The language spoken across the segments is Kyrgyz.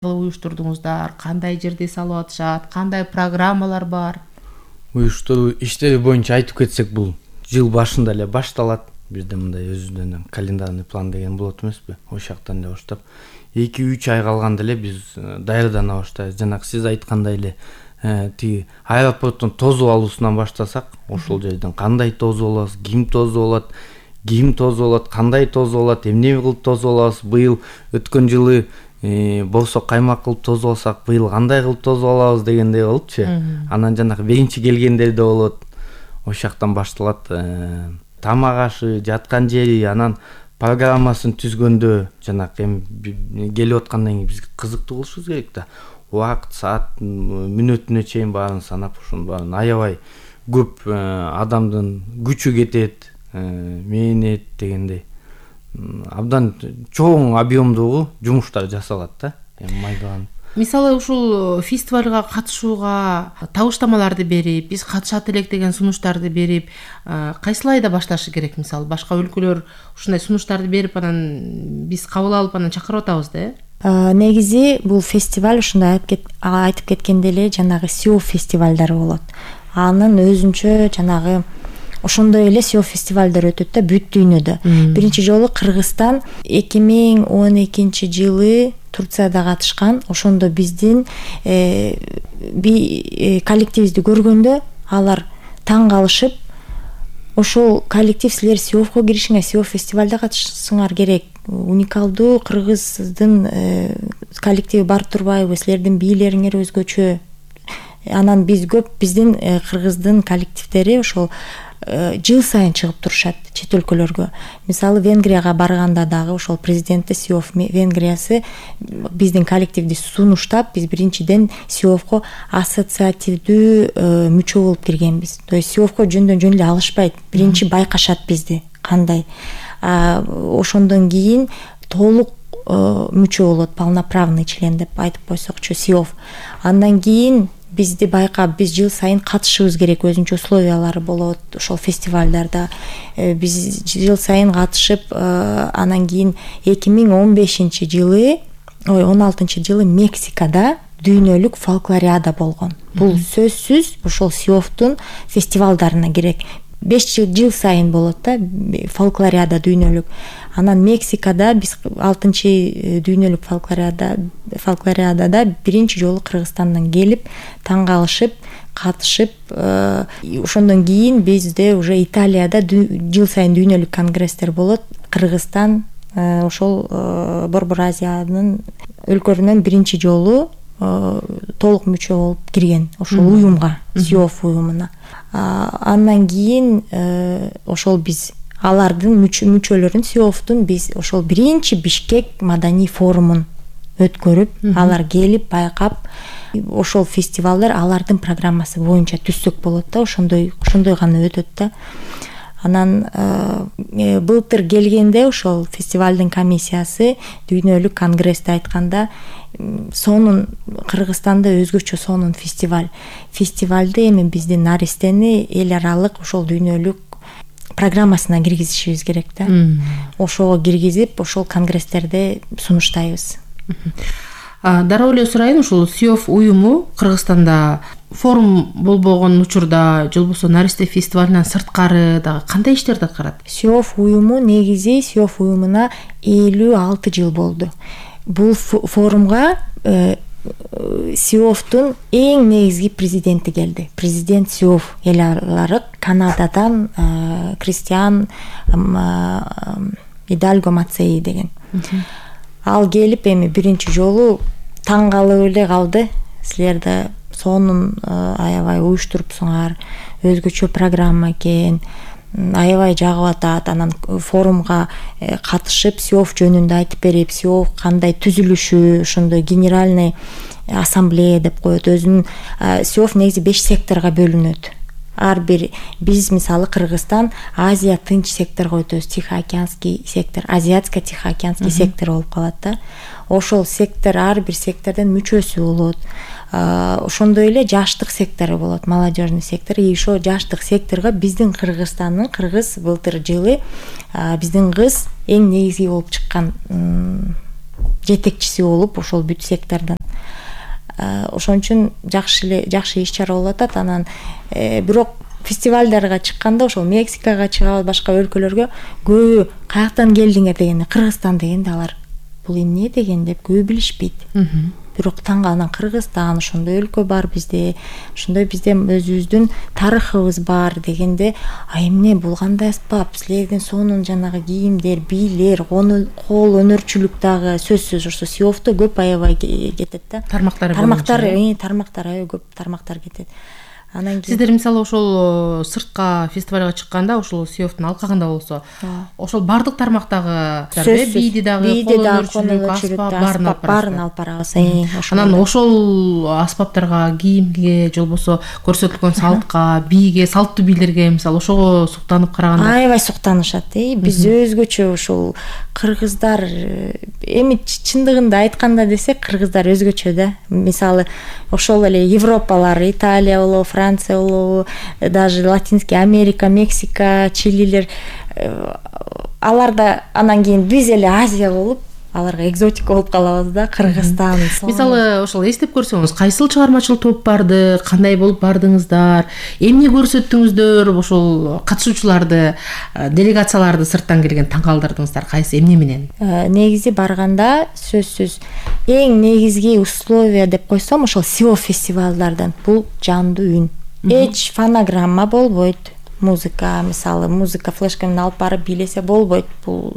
уюштурдуңуздар, кандай жерде салып атышат, кандай программалар бар? Уюштуруу иштери боюнча айтып кетсек, бул жыл башында эле башталат. Бизде мындай өзүнөн календарный план деген болот эмеспи? Ошол жактан эле баштап 2-3 ай калганда эле биз даярдана баштайбыз. Жанагы сиз айткандай эле тиги аэропорттун тозуп алуусунан баштасак, ошол жерден кандай тозуп алабыз, ким тозуп алат, кандай тозуп алат, эмне кылып тозуп алабыз. Быйыл өткөн жылы борсок каймак кылып тозуп алсак, быйыл кандай кылып тозуп алабыз дегендей болупчу. Анан жанагы биринчи келгендер да болот. Ошол жактан башталат. Тамак ашы, жаткан жери, анан программасын түзгөндө жанагы эми келип аткандан кийин биз кызыктуу кылышыбыз керек да. Убакыт, саат, мүнөтүнө чейин баарын санап, ошонун баарын аябай көп адамдын күчү кетет, мээнет дегендей. Абдан чоң объемдогу жумуштар жасалат да. Эми майдаланып. Мисалы ушул фестивалга катышууга табыштамаларды берип, биз катышат элек деген сунуштарды берип, кайсыл айда башташы керек? Мисалы башка өлкөлөр ушундай сунуштарды берип, анан биз кабыл алып анан чакырып атабыз да. Негизи бул фестиваль ушундай айтып кеткендей эле жанагы СИОФ фестивалдары болот. Анын өзүнчө жанагы ошондой эле СИОФ фестивалдар өтөт да бүт дүйнөдө. Биринчи жолу Кыргызстан 2012 жылы Турцияда катышкан. Ошондо биздин коллективибизди көргөндө алар таң калышып, ошол коллектив силер СИОФко киришиңер, СИОФ фестивалда катышсаңар керек. Уникалдуу кыргыздын коллективи бар турбайбы? Силердин бийлериңер өзгөчө. Анан биздин кыргыздын коллективдери ошол жыл сайын чыгып турушат чет өлкөлөргө. Мисалы Венгрияга барганда дагы ошол президенти СИОФ Венгриясы биздин коллективди сунуштап, биз биринчиден СИОФко ассоциативдүү мүчө болуп киргенбиз. То есть СИОФко жөн эле алышпайт. Биринчи байкашат бизди кандай. Ошондон кийин толук мүчө болот, полноправный член деп айтып койсокчу СИОФ. Андан кийин бизди байкап, биз жыл сайын катышыбыз керек, өзүнчө условиялары болот ошол фестивалдарда. Биз жыл сайын катышып, анан кийин 2016 жылы Мексикада дүйнөлүк фолклориада болгон. Бул сөзсүз ошол СИОФтун фестивалдарына керек. 5 жыл сайын болот да фолклориада дүйнөлүк. Анан Мексикада биз 6 дүйнөлүк фолклориадада биринчи жолу Кыргызстандан келип, таң калышып, катышып, ошондон кийин бизде уже Италияда жыл сайын дүйнөлүк конгресстер болот. Кыргызстан ошол Борбор Азиянын өлкөлөрүнөн биринчи жолу толук мүчө болуп кирген ошол уюмга, СИОФ уюмуна. Андан кийин ошол биз алардын мүчөлөрүн СИОФтун биз ошол биринчи Бишкек маданий форумун өткөрүп, алар келип байкап, ошол фестивалдар алардын программасы боюнча түзсөк болот да, ошондой гана өтөт да. Анан былтыр келгенде ошол фестивалдын комиссиясы дүйнөлүк конгрессте айтканда, сонун Кыргызстанда өзгөчө сонун фестивалды эми биздин наристени эл аралык ошол дүйнөлүк программасына киргизишибиз керек да. Ошого киргизип, ошол конгресстерде сунуштайбыз. Дароо эле сурайын, ушул СИОФ уюму Кыргызстанда форум болбогон учурда, же болбосо наристе фестивалынан сырткары дагы кандай иштерди аткарат? СИОФ уюму негизи СИОФ уюмуна 56 жыл болду. Бул форумга СИОФтун эң негизги президенти келди. Президент СИОФ эл аралык Канададан Кристиан Идальго Мацеи деген. Ал келип эми биринчи жолу таң калып эле калды. Силер да сонун аябай уюштурупсуңар, өзгөчө программа экен, аябай жагып атат. Анан форумга катышып, СИОФ жөнүндө айтып берип, СИОФ кандай түзүлүшү, ошондой генеральный ассамблея деп коет. Өзүнүн СИОФ негизи 5 секторго бөлүнөт. Ар бир биз мисалы Кыргызстан Азия тынч секторго өтөбүз, Тихоокеанский сектор, Азиатско-Тихоокеанский сектор болуп калат да. Ошол сектор ар бир сектордон мүчөсү болот. Ошондой эле жаштык сектору болот, молодежный сектор. И ошо жаштык секторго биздин Кыргызстандын кыргыз былтыр жылы биздин кыз эң негизги болуп чыккан жетекчиси болуп ошол бүт сектордон. Ошон үчүн жакшы иш чара болуп атат. Анан бирок фестивалдарга чыкканда ошол Мексикага чыгабыз, башка өлкөлөргө көбү каяктан келдиңер дегенде Кыргызстан дегенде алар бул эмне деген деп көбү билишпейт. Бирок анан Кыргызстан ошондой өлкө бар бизде, ошондой бизде өзүбүздүн тарыхыбыз бар дегенде, эмне бул кандай аспап, силердин сонун жанагы кийимдер, бийлер, кол өнөрчүлүк дагы сөзсүз ошо Сиофто көп аябай кетет да. Тармактар аябай көп тармактар кетет. Анан сиздер мисалы ошол сыртка фестивалга чыкканда ошол Сиофтун алкагында болсо, ошол бардык тармактагы бийди дагы, баарын алып барабыз. Анан ошол аспаптарга, кийимге, же болбосо көрсөтүлгөн салтка, бийге, салттуу бийлерге мисалы ошого суктанып караганда аябай суктанышат. Биз өзгөчө ошол кыргыздар, эми чындыгында айтканда десек, кыргыздар өзгөчө да. Мисалы ошол эле Европалар, Италия болобу, Франция болобу, даже Латинский Америка, Мексика, Чилилер, аларда анан кийин биз эле Азия болуп, аларга экзотика болуп калабыз да. Кыргызстан. Мисалы ошол эстеп көрсөңүз, кайсыл чыгармачыл топ барды, кандай болуп бардыңыздар, эмне көрсөттүңүздөр, ошол катышуучуларды, делегацияларды сырттан келген таң калтырдыңыздар, кайсы эмне менен? Негизи барганда сөзсүз эң негизги условия деп койсом, ошол Сиоф фестивалдардан бул жандуу үн. Эч фонограмма болбойт. Музыка, мисалы, музыка флешка менен алып барып бийлесе болбойт. Бул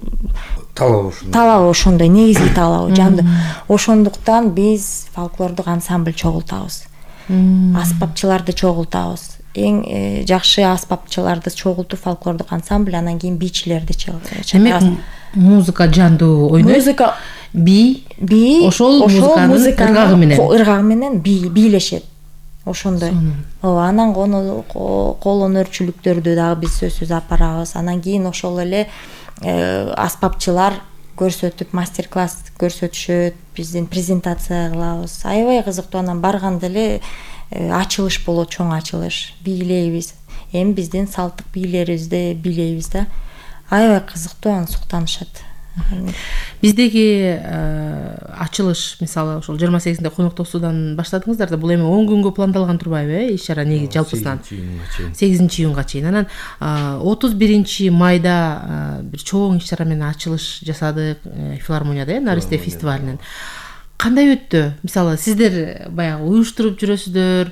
талабы ошондой, негизги талабы жандуу. Ошондуктан биз фольклордук ансамбль чогултабыз. Аспапчыларды чогултабыз. Эң жакшы аспапчыларды чогултуп фольклордук ансамбль, анан кийин бийчилерди чыгарабыз. Музыка жандуу ойнойт. Музыка бий ошол музыканын ыргагы менен бийлешет. Ошондой. Анан кол өнөрчүлүктөрдү дагы биз сөзсүз алып барабыз. Анан кийин ошол эле аспапчылар көрсөтүп, мастер-класс көрсөтүшөт, биздин презентация кылабыз. Аябай кызыктуу. Анан барганда эле ачылыш болот, чоң ачылыш. Бийлейбиз. Эми биздин салттык бийлерибизди бийлейбиз да. Аябай кызыктуу, анан суктанышат. Биздеги ачылыш мисалы ошол 28-нде коноктосуудан баштадыңыздар да, бул эми 10 күнгө пландалган турбайбы, иш чара негизи жалпысынан 8-июнга чейин. Анан 31 майда бир чоң иш чара менен ачылыш жасадык филармонияда, Наристе фестивалинен. Кандай өттү? Мисалы сиздер баягы уюштуруп жүрөсүздөр,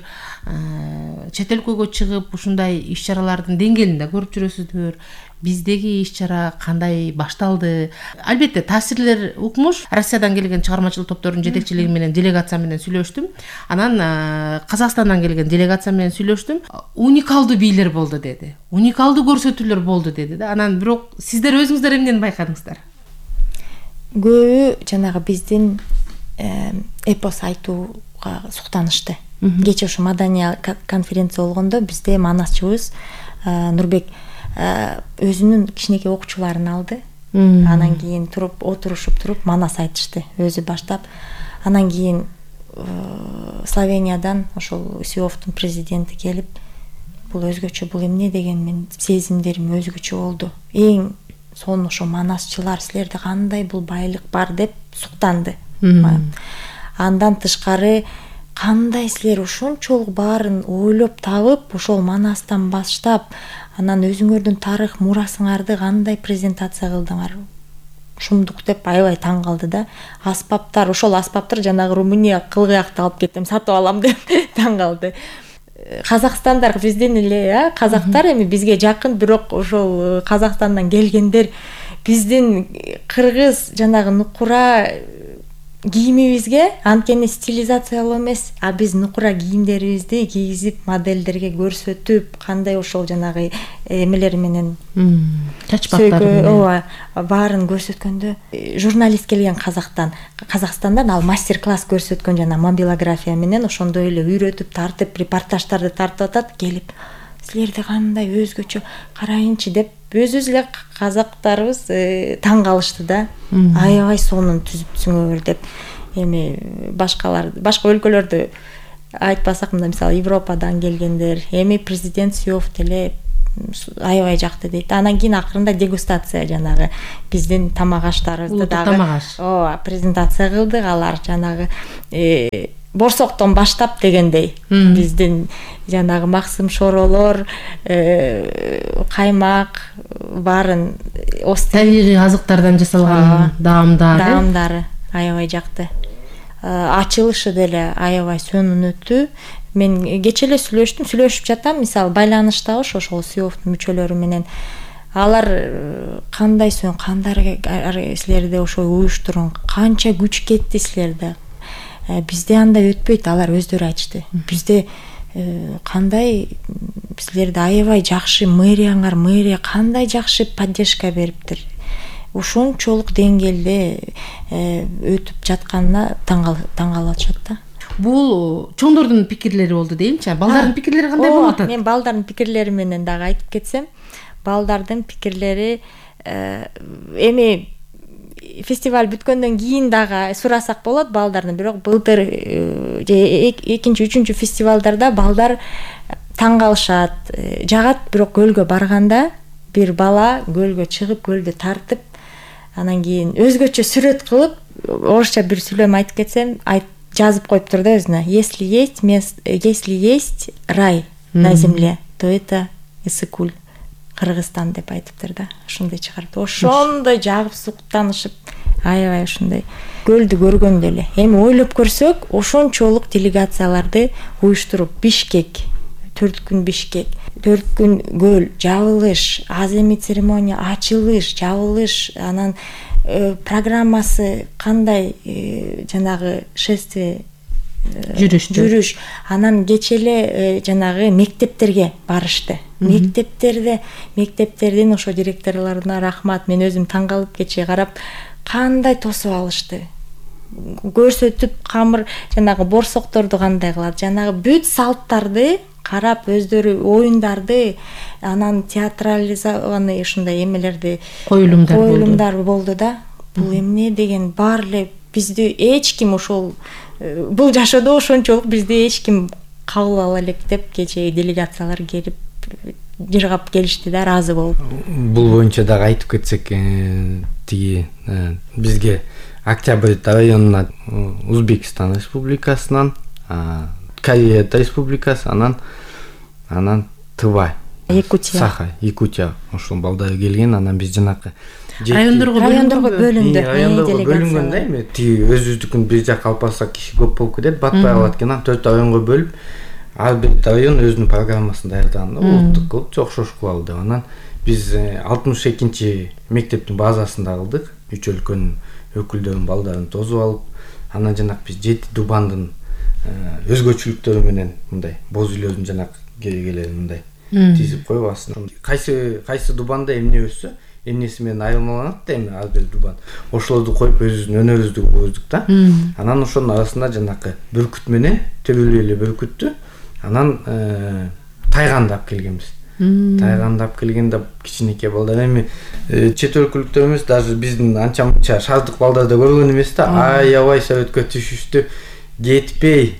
чет өлкөгө чыгып ушундай иш чаралардын деңгээлин да көрүп жүрөсүздөр. Биздеги иш чара кандай башталды? Албетте таасирлер укмуш. Россиядан келген чыгармачыл топтордун жетекчилиги менен, делегация менен сүйлөштүм. Анан Казакстандан келген делегация менен сүйлөштүм. Уникалдуу бийлер болду деди. Уникалдуу көрсөтүүлөр болду деди да. Анан бирок сиздер өзүңүздөр эмнени байкадыңыздар? Көбү жанагы биздин эпос айтууга суктанышты. Кечээ ошо Мадания конференция болгондо бизде манасчыбыз Нурбек өзүнүн кичинекей окуучуларын алды. Анан кийин отурушуп туруп манас айтышты, өзү баштап. Анан кийин Словениядан ошол Сиофтун президенти келип, бул өзгөчө, бул эмне деген, мен сезимдерим өзгөчө болду. Эң сонун ошо манасчылар, силерде кандай бул байлык бар деп суктанды. Андан тышкары кандай силер ушунчолук баарын ойлоп табып, ошол манастан баштап, анан өзүңөрдүн тарых мурасыңарды кандай презентация кылдыңар, ушундук деп аябай таң калды да. Аспаптар, ошол аспаптар жанагы Румыния кылгыякты алып кеттим, сатып алам деп таң калды. Казакстандар бизден эле, казактар эми бизге жакын, бирок ошол Казакстандан келгендер биздин кыргыз жанагы нукура кийимибизге анткени стилизациялоо эмес, а биз нукура кийимдерибизди кийгизип модельдерге көрсөтүп, кандай ошол жанагы эмелер менен чачпактар баарын көрсөткөндө, журналист келген Казакстандан ал мастер-класс көрсөткөн жана мобилография менен ошондой эле үйрөтүп, тартып, репортаждарды тартып атат, келип силерде кандай өзгөчө карайынчы деп өзүбүз эле казактарыбыз таң калышты да. Аябай сонун түзүпсүңөр деп. Эми башка өлкөлөрдү айтпасак, мында мисалы Европадан келгендер, эми президент Сиофт эле аябай жакты дейт. Анан кийин акырында дегустация, жанагы биздин тамак аштарыбызды дагы ооба презентация кылдык. Алар жанагы борсоктон баштап дегендей биздин жанагы максым шоролор, каймак баарын табигый азыктардан жасалган даамдары аябай жакты. Ачылышы деле аябай сонун өттү. Мен кече эле сүйлөшүп жатам, мисалы байланышта ошол СИОФтун мүчөлөрү менен. Алар кандай силерде ошо уюштурун, канча күч кетти силерде. Бизде андай өтпөйт, алар өздөрү айтышты. Бизде кандай силерде аябай жакшы мэрия кандай жакшы поддержка бериптир. Ушунчолук деңгээлде өтүп жатканына таң калып атышат да. Бул чоңдордун пикирлери болду деймчи. Балдардын пикирлери кандай болуп атат? Мен балдардын пикирлери менен дагы айтып кетсем, балдардын пикирлери эми фестиваль бүткөндөн кийин дагы сурасак болот балдардан. Бирок былтыр экинчи, үчүнчү фестивалдарда балдар таң калышат, жагат. Бирок көлгө барганда бир бала көлгө чыгып, көлдү тартып, анан кийин өзгөчө сүрөт кылып, орусча бир сүйлөм айтып кетсем, жазып коюптур да өзүнө. Если есть рай на земле, то это Ысыкуль, Кыргызстан деп айтыптыр да. Ошондой чыгарып, ошондой жагып суктанышып, аябай ошондой көлдү көргөндө эле. Эми ойлоп көрсөк, ошончолук делегацияларды уюштуруп, Бишкек, 4 күн Бишкек, 4 күн көл, жабылыш, аземи церемония, ачылыш, жабылыш, анан программасы кандай, жанагы шествие, жүрүш, анан кече эле жанагы мектептерге барышты. Мектептердин ошо директорлоруна рахмат. Мен өзүм таң калып кече карап, кандай тосуп алышты. Көрсөтүп, камыр жанагы борсокторду кандай кылат, жанагы бүт салттарды карап, өздөрү оюндарды, анан театрализованный ушундай эмелерди, коюлумдар болду да. Бул эмне деген бар эле бизди эч ким ошол бул жашоодо ошончолук бизди эч ким кабыл ала элек деп кечээ делегациялар келип жыргап келишти да, ыраазы болуп. Бул боюнча дагы айтып кетсек, тиги бизге Октябрь районуна Узбекистан республикасынан, Корея республикасы, анан Тыва, Якутия ошол балдары келген. Анан биз жанакы райондорго бөлүнгөн да, эми тиги өзүбүздүкүн бир жака алып барсак киши көп болуп кетет, батпай калат экен. Анан 4 районго бөлүп, ар бир район өзүнүн программасын даярдаган да, улуттук кылып, жокшош кылалы деп. Анан биз 62 мектептин базасында кылдык. 3 өлкөнүн өкүлдөрүнүн балдарын тосуп алып, анан жанакы биз 7 дубандын өзгөчөлүктөрү менен мындай боз үйлөрдүн жанакы керегелерин мындай тизип коюп, астына кайсы дубанда эмне өссө, эмнеси менен айырмаланат да, эми ар бир дубан. Ошолорду коюп өзүбүздүн өнөрүбүздү көрдүк да. Анан ошонун арасында жанакы бүркүт менен төбөлүү эле бүркүттү анан тайгандап келгенбиз. Тайгандап келгенде кичинекей балдар, эми чет өлкөлүктөр эмес, даже биздин анча мынча шаардык балдар да көргөн эмес да, аябай сөйткө түшүштү. Кетпей,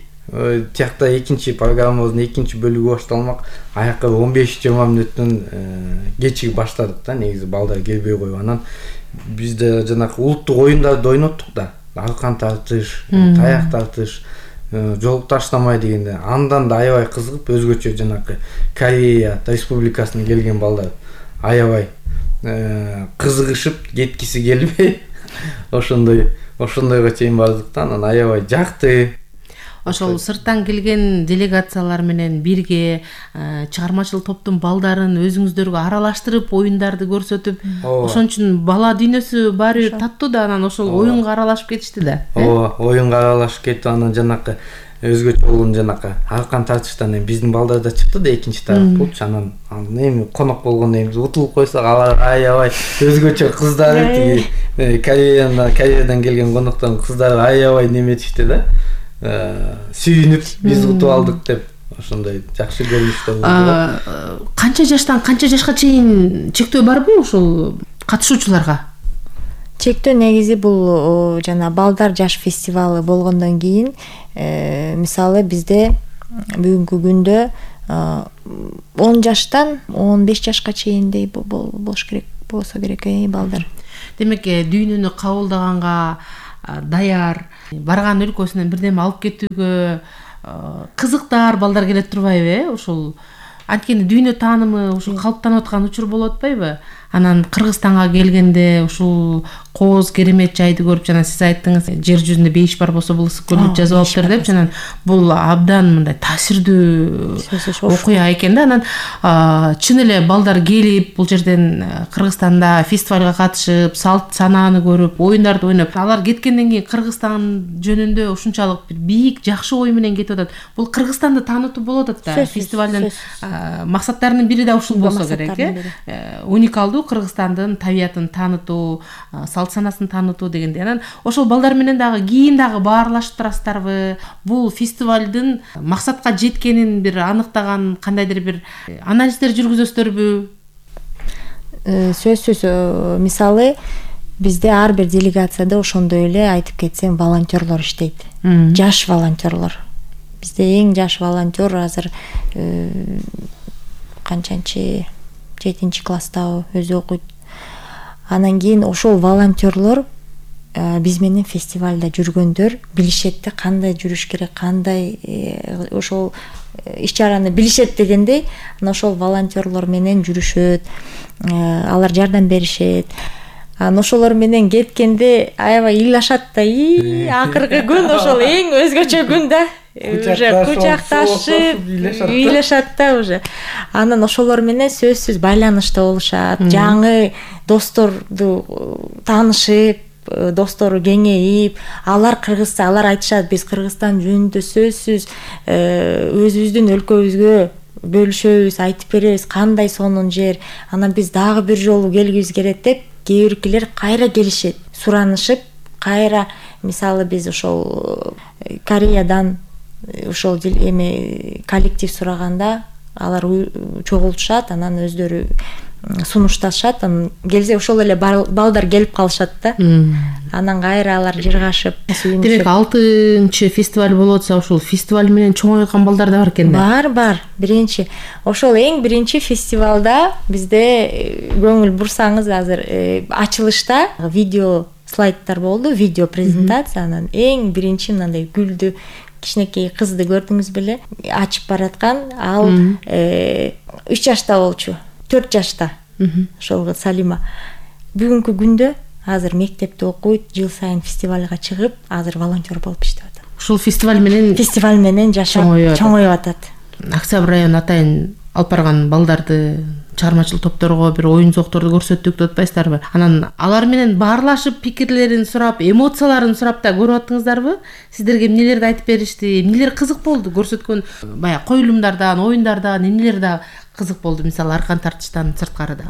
тиякта экинчи программабыздын экинчи бөлүгү башталмак. Аякка 15-20 мүнөттөн кечиги баштадык да, негизи балдар келбей коюп. Анан бизде жанакы улуттук оюндарды ойноттук да. Аркан тартыш, таяк тартыш, жол таштамай дегенде. Андан да аябай кызыгып, өзгөчө жанакы Корея республикасынан келген балдар аябай кызыгышып, кеткиси келбей, ошондойго чейин бардык да. Анан аябай жакты. Ошол сырттан келген делегациялар менен бирге чыгармачыл топтун балдарын өзүңүздөргө аралаштырып, оюндарды көрсөтүп, ошон үчүн бала дүйнөсү баары бир таттуу да. Анан ошол оюнга аралашып кетишти да. Ооба, оюнга аралашып кетип, анан жанакы өзгөчө болгон жанакы аркан тартыштан биздин балдар да чыкты да, экинчи тарап болчу. Анан эми конок болгондо эми утулуп койсок, алар аябай өзгөчө кыздары, тиги Кореядан келген коноктордун кыздары аябай неметишти да. Сүйүнүп, биз утуп алдык деп, ошондой жакшы көрүнүштөр болду. Канча жаштан канча жашка чейин чектөө барбы ошол катышуучуларга? Чектөө негизи бул жана балдар жаш фестивалы болгондон кийин, мисалы бизде бүгүнкү күндө 10 жаштан 15 жашка чейиндей болуш керек, болсо керек балдар. Демек дүйнөнү кабылдаганга даяр, барган өлкөсүнөн бирдеме алып кетүүгө кызыктар балдар келет турбайбы? Ушул анткени дүйнө таанымы ушул калыптанып аткан учур болуп атпайбы? Анан Кыргызстанга келгенде ушул кооз керемет жайды көрүп, жана сиз айттыңыз, жер жүзүндө бейиш бар болсо бул ысык көлдү жазып алыптыр деп, жана бул абдан мындай таасирдүү окуя экен да. Анан чын эле балдар келип, бул жерден Кыргызстанда фестивалга катышып, салт санааны көрүп, оюндарды ойноп, алар кеткенден кийин Кыргызстан жөнүндө ушунчалык бир бийик, жакшы ой менен кетип атат. Бул Кыргызстанды таанытуу болуп атат да. Фестивалдын максаттарынын бири да ушул болсо керек, уникалдуу Кыргызстандын табиятын таанытуу, салт санасын таанытуу дегенде. Анан ошол балдар менен дагы кийин дагы баарлашып турасыздарбы? Бул фестивалдын максатка жеткенин бир аныктаган кандайдыр бир анализдер жүргүзөсүздөрбү? Сөзсүз, мисалы бизде ар бир делегацияда ошондой эле айтып кетсем волонтерлор иштейт. Жаш волонтерлор. Бизде эң жаш волонтер азыр канчанчы 7-класста өзү окуйт. Анан кийин ошол волонтерлор биз менен фестивалда жүргөндөр билишет да, кандай жүрүш керек, кандай ошол иш-чараны билишет дегендей. Анан ошол волонтерлор менен жүрүшөт, алар жардам беришет. Анан ошолор менен кеткенде аябай ыйлашат да. Акыркы күн ошол эң өзгөчө күн да. Уже кучакташып ыйлашат да уже. Анан ошолор менен сөзсүз байланышта болушат, жаңы досторду таанышып, достору кеңейип, алар Кыргызстан, алар айтышат, биз Кыргызстан жөнүндө сөзсүз өзүбүздүн өлкөбүзгө бөлүшөбүз, айтып беребиз, кандай сонун жер. Анан биз дагы бир жолу келгибиз келет деп, кээ биркилер кайра келишет, суранышып, кайра, мисалы биз ошол Кореядан ошол коллектив сураганда алар чогултушат, анан өздөрү сунушташат, анан келсе ошол эле балдар келип калышат да. Анан кайра алар жыргашып, демек 6-чы фестиваль болуп атса, ошол фестиваль менен чоңойгон балдар да бар экен да. Бар. Биринчи. Ошол эң биринчи фестивалда бизде көңүл бурсаңыз, азыр ачылышта видео слайдтар болду, видео презентация. Анан эң биринчи мындай гүлдү кичинекей кызды көрдүңүз беле, ачып бараткан, ал 3 жашта болчу, 4 жашта. Ошол Салима бүгүнкү күндө азыр мектепте окуйт, жыл сайын фестивалга чыгып, азыр волонтер болуп иштеп атат. Ушул фестиваль менен жашап чоңоюп атат. Октябрь району атайын алып барган балдарды чыгармачыл топторго бир оюн зоокторду көрсөттүк деп атпайсыздарбы? Анан алар менен баарлашып, пикирлерин сурап, эмоцияларын сурап да көрүп аттыңыздарбы? Сиздерге эмнелерди айтып беришти? Эмнелер кызык болду? Көрсөткөн баягы коюлумдардан, оюндардан эмнелер да кызык болду? Мисалы аркан тартыштан сырткары да.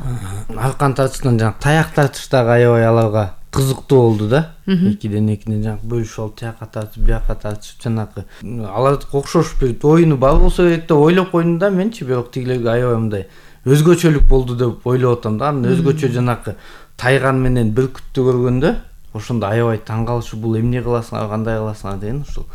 Аркан тартыштан жана таяк тартыштагы аябай аларга кызыктуу болду да. Экиден жана бөлүшүп алып, тияка тартып, бияка тартышып, жанакы алар окшош бир оюну бар болсо керек деп ойлоп койдум да менчи, бирок тигилерге аябай мындай өзгөчөлүк болду деп ойлоп атам да. Анан өзгөчө жанакы тайган менен бүркүттү көргөндө ошондо аябай таң калышып, бул эмне кыласыңар, кандай кыласыңар деген ушул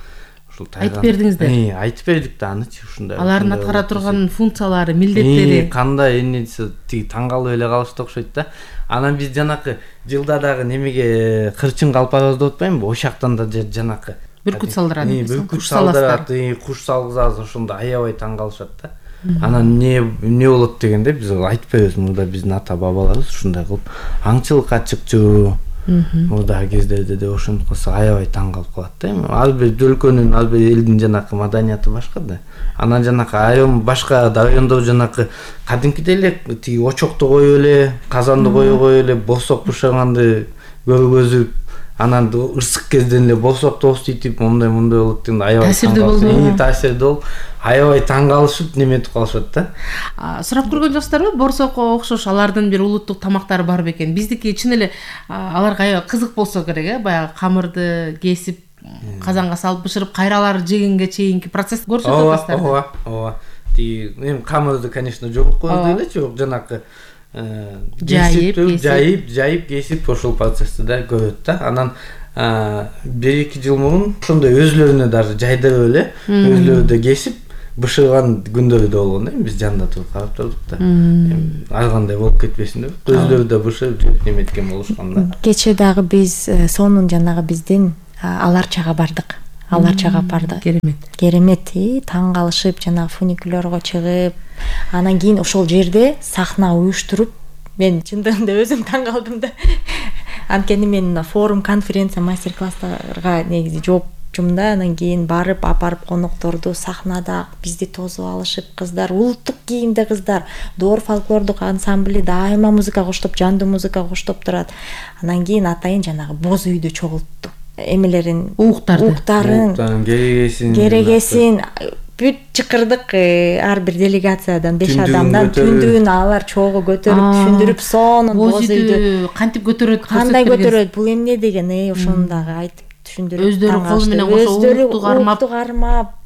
айтып бердиңиздер. Айтып бердик да анычы ушундай. Алардын аткара турган функциялары, милдеттери кандай эмнеси тиги таң калып эле калышты окшойт да. Анан биз жанакы жылда дагы немеге кырчынга алып барабыз деп атпаймынбы? Ошактан да жанакы бүркүт салдырат. Бүркүт салдырат, куш салгызабыз, ошондо аябай таң калышат да. Анан эмне болот дегенде биз айтып беребиз, мурда биздин ата бабаларыбыз ушундай кылып аңчылыкка чыкчу. Мурдагы кездерде де ошентип кылса аябай таң калып калат да. Ар бир өлкөнүн, ар бир элдин жанакы маданияты башка да. Анан жанакы айрым башка райондор жанакы кадимкидей эле тиги очокту коюп эле, казанды коюп эле, борсок бышырганды көргөзүп, анан ырсык кезден эле борсокту оститип, мондай болот дегенде аябай таасирдүү болуп, аябай таң калышып, неметип калышат да. Сурап көргөн жоксуздарбы? Борсокко окшош алардын бир улуттук тамактары бар бекен? Биздики чын эле аларга аябай кызык болсо керек, баягы камырды кесип, казанга салып бышырып, кайралар жегенге чейинки процессти көрсөтүп атасыздар. Ооба. Тиги эми камырды, конечно, жоготкон элечи, жанакы жайып кесип ошол процессти да көрөт да. Анан 1-2 жыл мурун ошондой өзлөрүнө даже жайдырып эле, өзлөрү да кесип бышыган күндөрү да болгон да, биз жанында туруп карап турдук да. Ар кандай болуп кетпесин деп, көздөрү да бышып жүрүп неметкен болушкан да. Кече дагы биз сонун жанагы биздин Аларчага бардык. Керемет, таң калышып жанагы фуникулерго чыгып, анан кийин ошол жерде сахна уюштуруп, мен чындыгында өзүм таң калдым да. Анткени мен форум, конференция, мастер-класстарга негизи жоопчумун да, анан кийин барып апарып конокторду сахнада бизди тосуп алышып, кыздар, улуттук кийимде кыздар, Доор фольклордук ансамбли дайыма музыка коштоп, жандуу музыка коштоп турат. Анан кийин атайын жанагы боз үйдү чогулттук. Эмелерин, уктарын, керегесин бүт чыкырдык, ар бир делегациядан 5 адамдан түндүгүн алар чогуу көтөрүп түшүндүрүп, сонун боз үйдү кантип көтөрөт, кандай көтөрөт, бул эмне деген, ошону дагы айтып түшүндүрүп, өздөрү кол менен кошо укту кармап,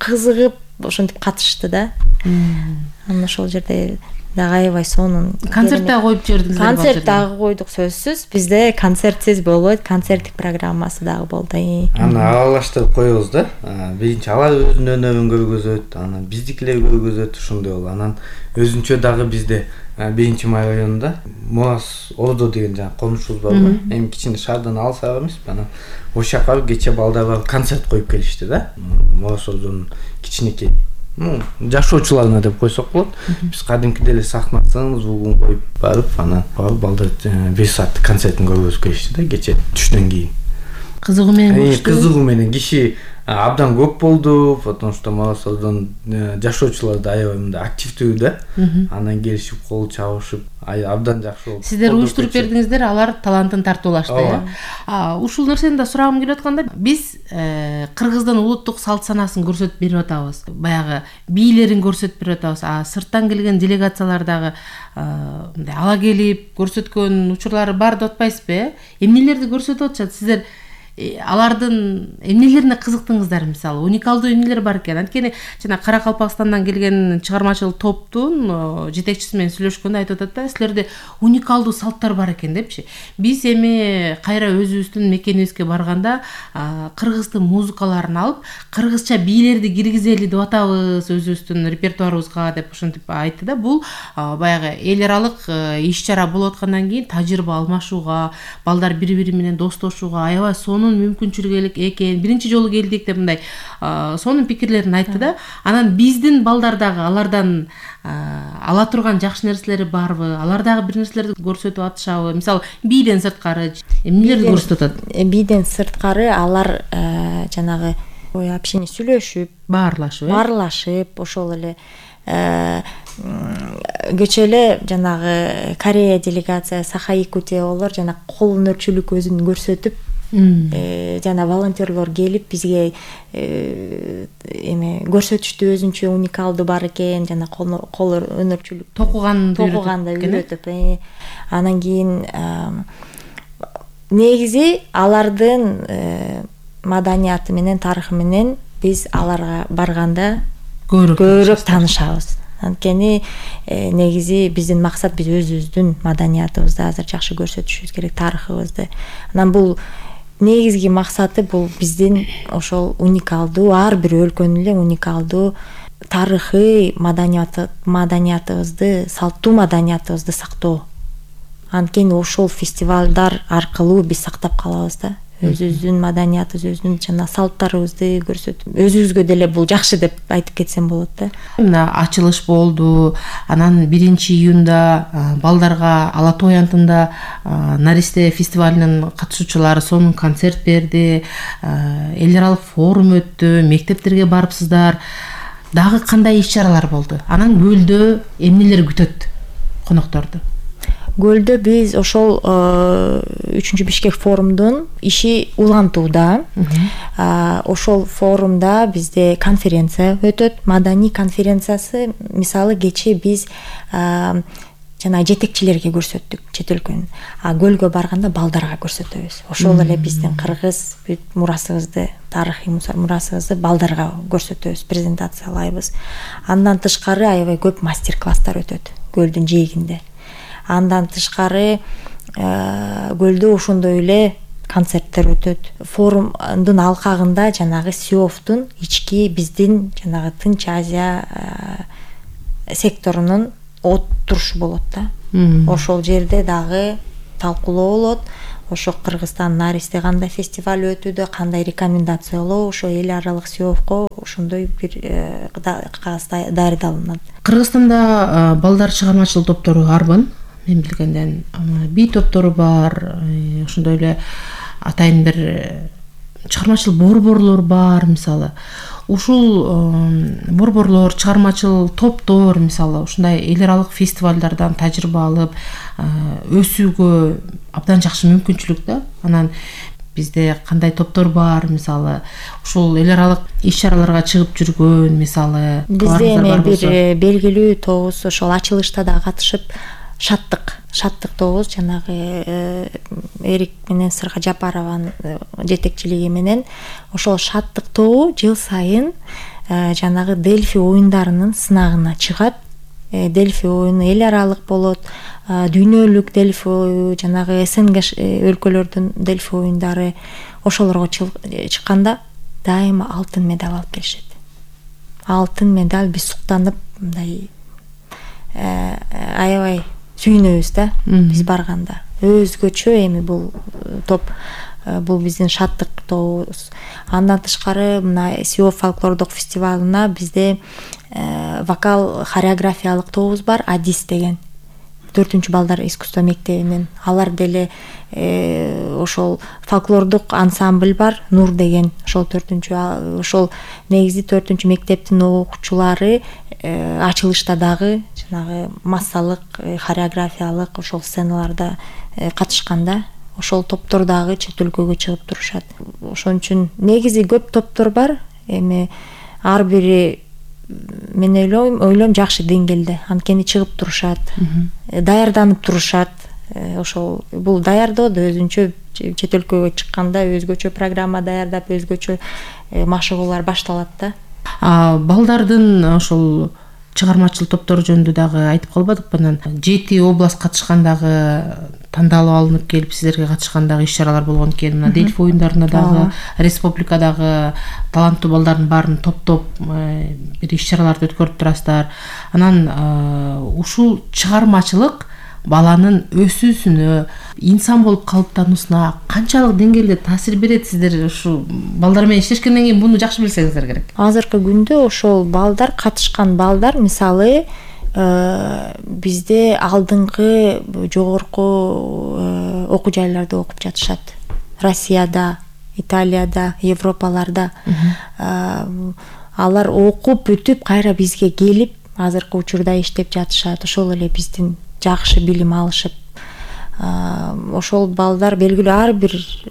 кызыгып ошентип катышты да. Анан ошол жерде дагы аябай сонун. Концерт дагы коюп жибердиңиздер? Концерт дагы койдук, сөзсүз. Бизде концертсиз болбойт, концерттик программасы дагы болду. Аны аралаштырып коебуз да. Биринчи алар өзүнүн өнөрүн көргөзөт, анан биздикилер көргөзөт, ошондой болду. Анан өзүнчө дагы бизде 1-Май районунда Мурас Ордо деген жаңы конушубуз бар го. Эми кичине шаардан алысаак эмеспи, анан ошол жака кече балдар барып концерт коюп келишти да. Мурас Ордонун кичинекей жашоочуларына деп койсок болот. Биз кадимки деле сахнасын, звугун коюп барып, анан балдар 1 сааттык концертин көргөзүп келишти да кече түштөн кийин. Кызыгуу менен киши абдан көп болду, потому что Мурас Ордонун жашоочулары да аябай мындай активдүү да. Анан келишип кол чабышып, абдан жакшы болду. Сиздер уюштуруп бердиңиздер, алар талантын тартуулашты. Ушул нерсени да сурагым келип атканда, биз Кыргыздын улуттук салт санаасын көрсөтүп берип атабыз. Баягы бийлерин көрсөтүп берип атабыз. Сырттан келген делегациялар дагы мындай ала келип көрсөткөн учурлары бар деп атпайсызбы? Эмнелерди көрсөтүп атышат? Сиздер алардын эмнелерине кызыктыңыздар? Мисалы, уникалдуу эмнелер бар экен. Анткени жана Каракалпакстандан келген чыгармачыл топтун жетекчиси менен сүйлөшкөндө айтып атат да, силерде уникалдуу салттар бар экен депчи. Биз эми кайра өзүбүздүн мекенибизге барганда кыргыздын музыкаларын алып, кыргызча бийлерди киргизели деп атабыз өзүбүздүн репертуарыбызга деп ошентип айтты да. Бул баягы эл аралык иш-чара болуп аткандан кийин тажрыйба алмашууга, балдар бири-бири менен достошууга аябай мүмкүнчүлүк экен. Биринчи жолу келдик деп мындай сонун пикирлерин айтты да. Анан биздин балдар дагы алардан ала турган жакшы нерселери барбы? Алар дагы бир нерселерди көрсөтүп атышабы? Мисалы, бийден сырткары эмнелерди көрсөтүп атат? Бийден сырткары алар жанагы общение сүйлөшүп, баарлашып, ошол эле кечээ эле жанагы Корея делегация Саха-Якутия болор, жана кол өнөрчүлүк өзүн көрсөтүп, жана волонтерлор келип бизге эме көрсөтүштү, өзүнчө уникалдуу бар экен, жана кол өнөрчүлүк токуганды үйрөтүп. Анан кийин негизи алардын маданияты менен, тарыхы менен биз аларга барганда көбүрөөк таанышабыз. Анткени негизи биздин максат, биз өзүбүздүн маданиятыбызды азыр жакшы көрсөтүшүбүз керек, тарыхыбызды. Анан бул негизги максаты бул биздин ошол уникалдуу, ар бир өлкөнүн эле уникалдуу тарыхый маданиятыбызды, салттуу маданиятыбызды сактоо. Анткени ошол фестивалдар аркылуу биз сактап калабыз да. Өзүбүздүн маданиятыбыз, өзүбүздүн жана салттарыбызды көрсөтүп, өзүбүзгө деле бул жакшы деп айтып кетсем болот да. Мына ачылыш болду. Анан 1-июнда балдарга Ала Тоо аянтында Наристе фестивалынын катышуучулары сонун концерт берди. Эл аралык форум өттү, мектептерге барыпсыздар. Дагы кандай иш-чаралар болду? Анан көлдө эмнелер күтөт конокторду? Көлдө биз ошол 3-чү Бишкек форумдун иши улантууда. Ошол форумда бизде конференция өтөт, маданий конференциясы. Мисалы кечээ биз жана жетекчилерге көрсөттүк, чет өлкөнүн. Көлгө барганда балдарга көрсөтөбүз. Ошол эле биздин кыргыз бүт мурасыбызды, тарыхый мурасыбызды балдарга көрсөтөбүз, презентациялайбыз. Андан тышкары аябай көп мастер-класстар өтөт көлдүн жээгинде. Андан тышкары көлдө ошондой эле концерттер өтөт. Форумдун алкагында жанагы СИОФтун ички биздин жанагы Тынч Азия секторунун отурушу болот да. Ошол жерде дагы талкуулоо болот. Ошо Кыргызстан Наристе кандай фестиваль өтүүдө, кандай рекомендациялоо ошо эл аралык СИОФко ошондой бир кагаз даярдалынат. Кыргызстанда балдар чыгармачылык топтору арбын. Мен билгенден би топтору бар, ошондой эле атайын бир чыгармачыл борборлор бар. Мисалы ушул борборлор, чыгармачыл топтор мисалы ушундай эл аралык фестивалдардан тажрыйба алып өсүүгө абдан жакшы мүмкүнчүлүк да. Анан бизде кандай топтор бар, мисалы ушул эл аралык иш-чараларга чыгып жүргөн, мисалы бизде эми бир белгилүү тобубуз ошол ачылышта да катышып, шаттык тобубуз жанагы Эрик менен Сырга Жапарованын жетекчилиги менен ошол шаттык тобу жыл сайын жанагы Дельфи оюндарынын сынагына чыгат. Дельфи оюну эл аралык болот, дүйнөлүк Дельфи оюну, жанагы СНГ өлкөлөрдүн Дельфи оюндары, ошолорго чыкканда дайыма алтын медаль алып келишет. Алтын медаль, биз суктанып мындай аябай сүйүнөбүз да биз барганда. Өзгөчө эми бул топ, бул биздин шаттык тобубуз. Андан тышкары мына СИОФ фольклордук фестивалына бизде вокал хореографиялык тобубуз бар, Адис деген 4 балдар искусство мектебинен. Алар деле ошол фольклордук ансамбль бар, Нур деген, ошол 4 ошол негизи 4 мектептин окуучулары ачылышта дагы жанагы массалык хореографиялык ошол сценаларда катышканда ошол топтор дагы чет өлкөгө чыгып турушат. Ошон үчүн негизи көп топтор бар. Эми ар бири мен ойлойм жакшы деңгээлде, анткени чыгып турушат, даярданып турушат. Ошол бул даярдоодо өзүнчө чет өлкөгө чыкканда өзгөчө программа даярдап, өзгөчө машыгуулар башталат да. Балдардын ошол чыгармачыл топтору жөнүндө дагы айтып калбадыкпы? Анан 7 област катышкандагы тандалып алынып келип сиздерге катышкандагы иш-чаралар болгон экен. Мына Дельфи оюндарына дагы республикадагы таланттуу балдардын баарын топтоп бир иш-чараларды өткөрүп турасыздар. Анан ушул чыгармачылык баланын өсүүсүнө, инсан болуп калыптануусуна канчалык деңгээлде таасир берет? Сиздер ушу балдар менен иштешкенден кийин буну жакшы билсеңиздер керек. Азыркы күндө ошол балдар, катышкан балдар, мисалы бизде алдыңкы жогорку окуу жайларда окуп жатышат. Россияда, Италияда, Европаларда. Алар окуп бүтүп кайра бизге келип, азыркы учурда иштеп жатышат. Ошол эле биздин жакшы билим алышып, ошол балдар белгилүү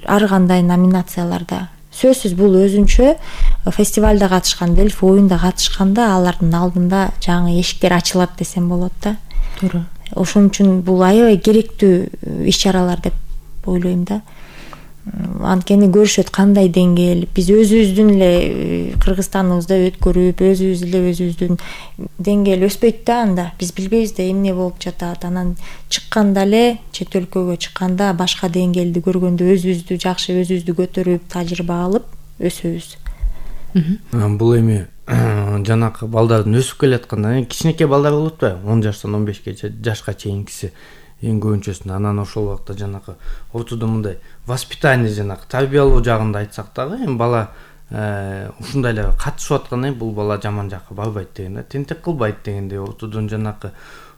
ар кандай номинацияларда, сөзсүз бул өзүнчө фестивалда катышкан, Дельфи оюнда катышканда алардын алдында жаңы эшиктер ачылат десем болот да. Туура. Ошон үчүн бул аябай керектүү иш-чаралар деп ойлойм да. Анткени көрүшөт кандай деңгээл, биз өзүбүздүн эле Кыргызстаныбызда өткөрүп, өзүбүздүн деңгээл өспөйт да анда. Биз билбейбиз да эмне болуп жатат. Анан чыкканда эле, чет өлкөгө чыкканда башка деңгээлди көргөндө өзүбүздү жакшы, өзүбүздү көтөрүп, тажрыйба алып өсөбүз. Бул эми жанакы балдардын өсүп келатканда кичинекей балдар болот да, 10 жаштан 15 жашка чейинкиси эң көбүнчөсүнө. Анан ошол убакта жанакы ортодо мындай воспитание, жанакы тарбиялоо жагында айтсак дагы, эми бала ушундай эле катышып атканда бул бала жаман жакка барбайт деген да, тентек кылбайт дегендей, ортодон жанакы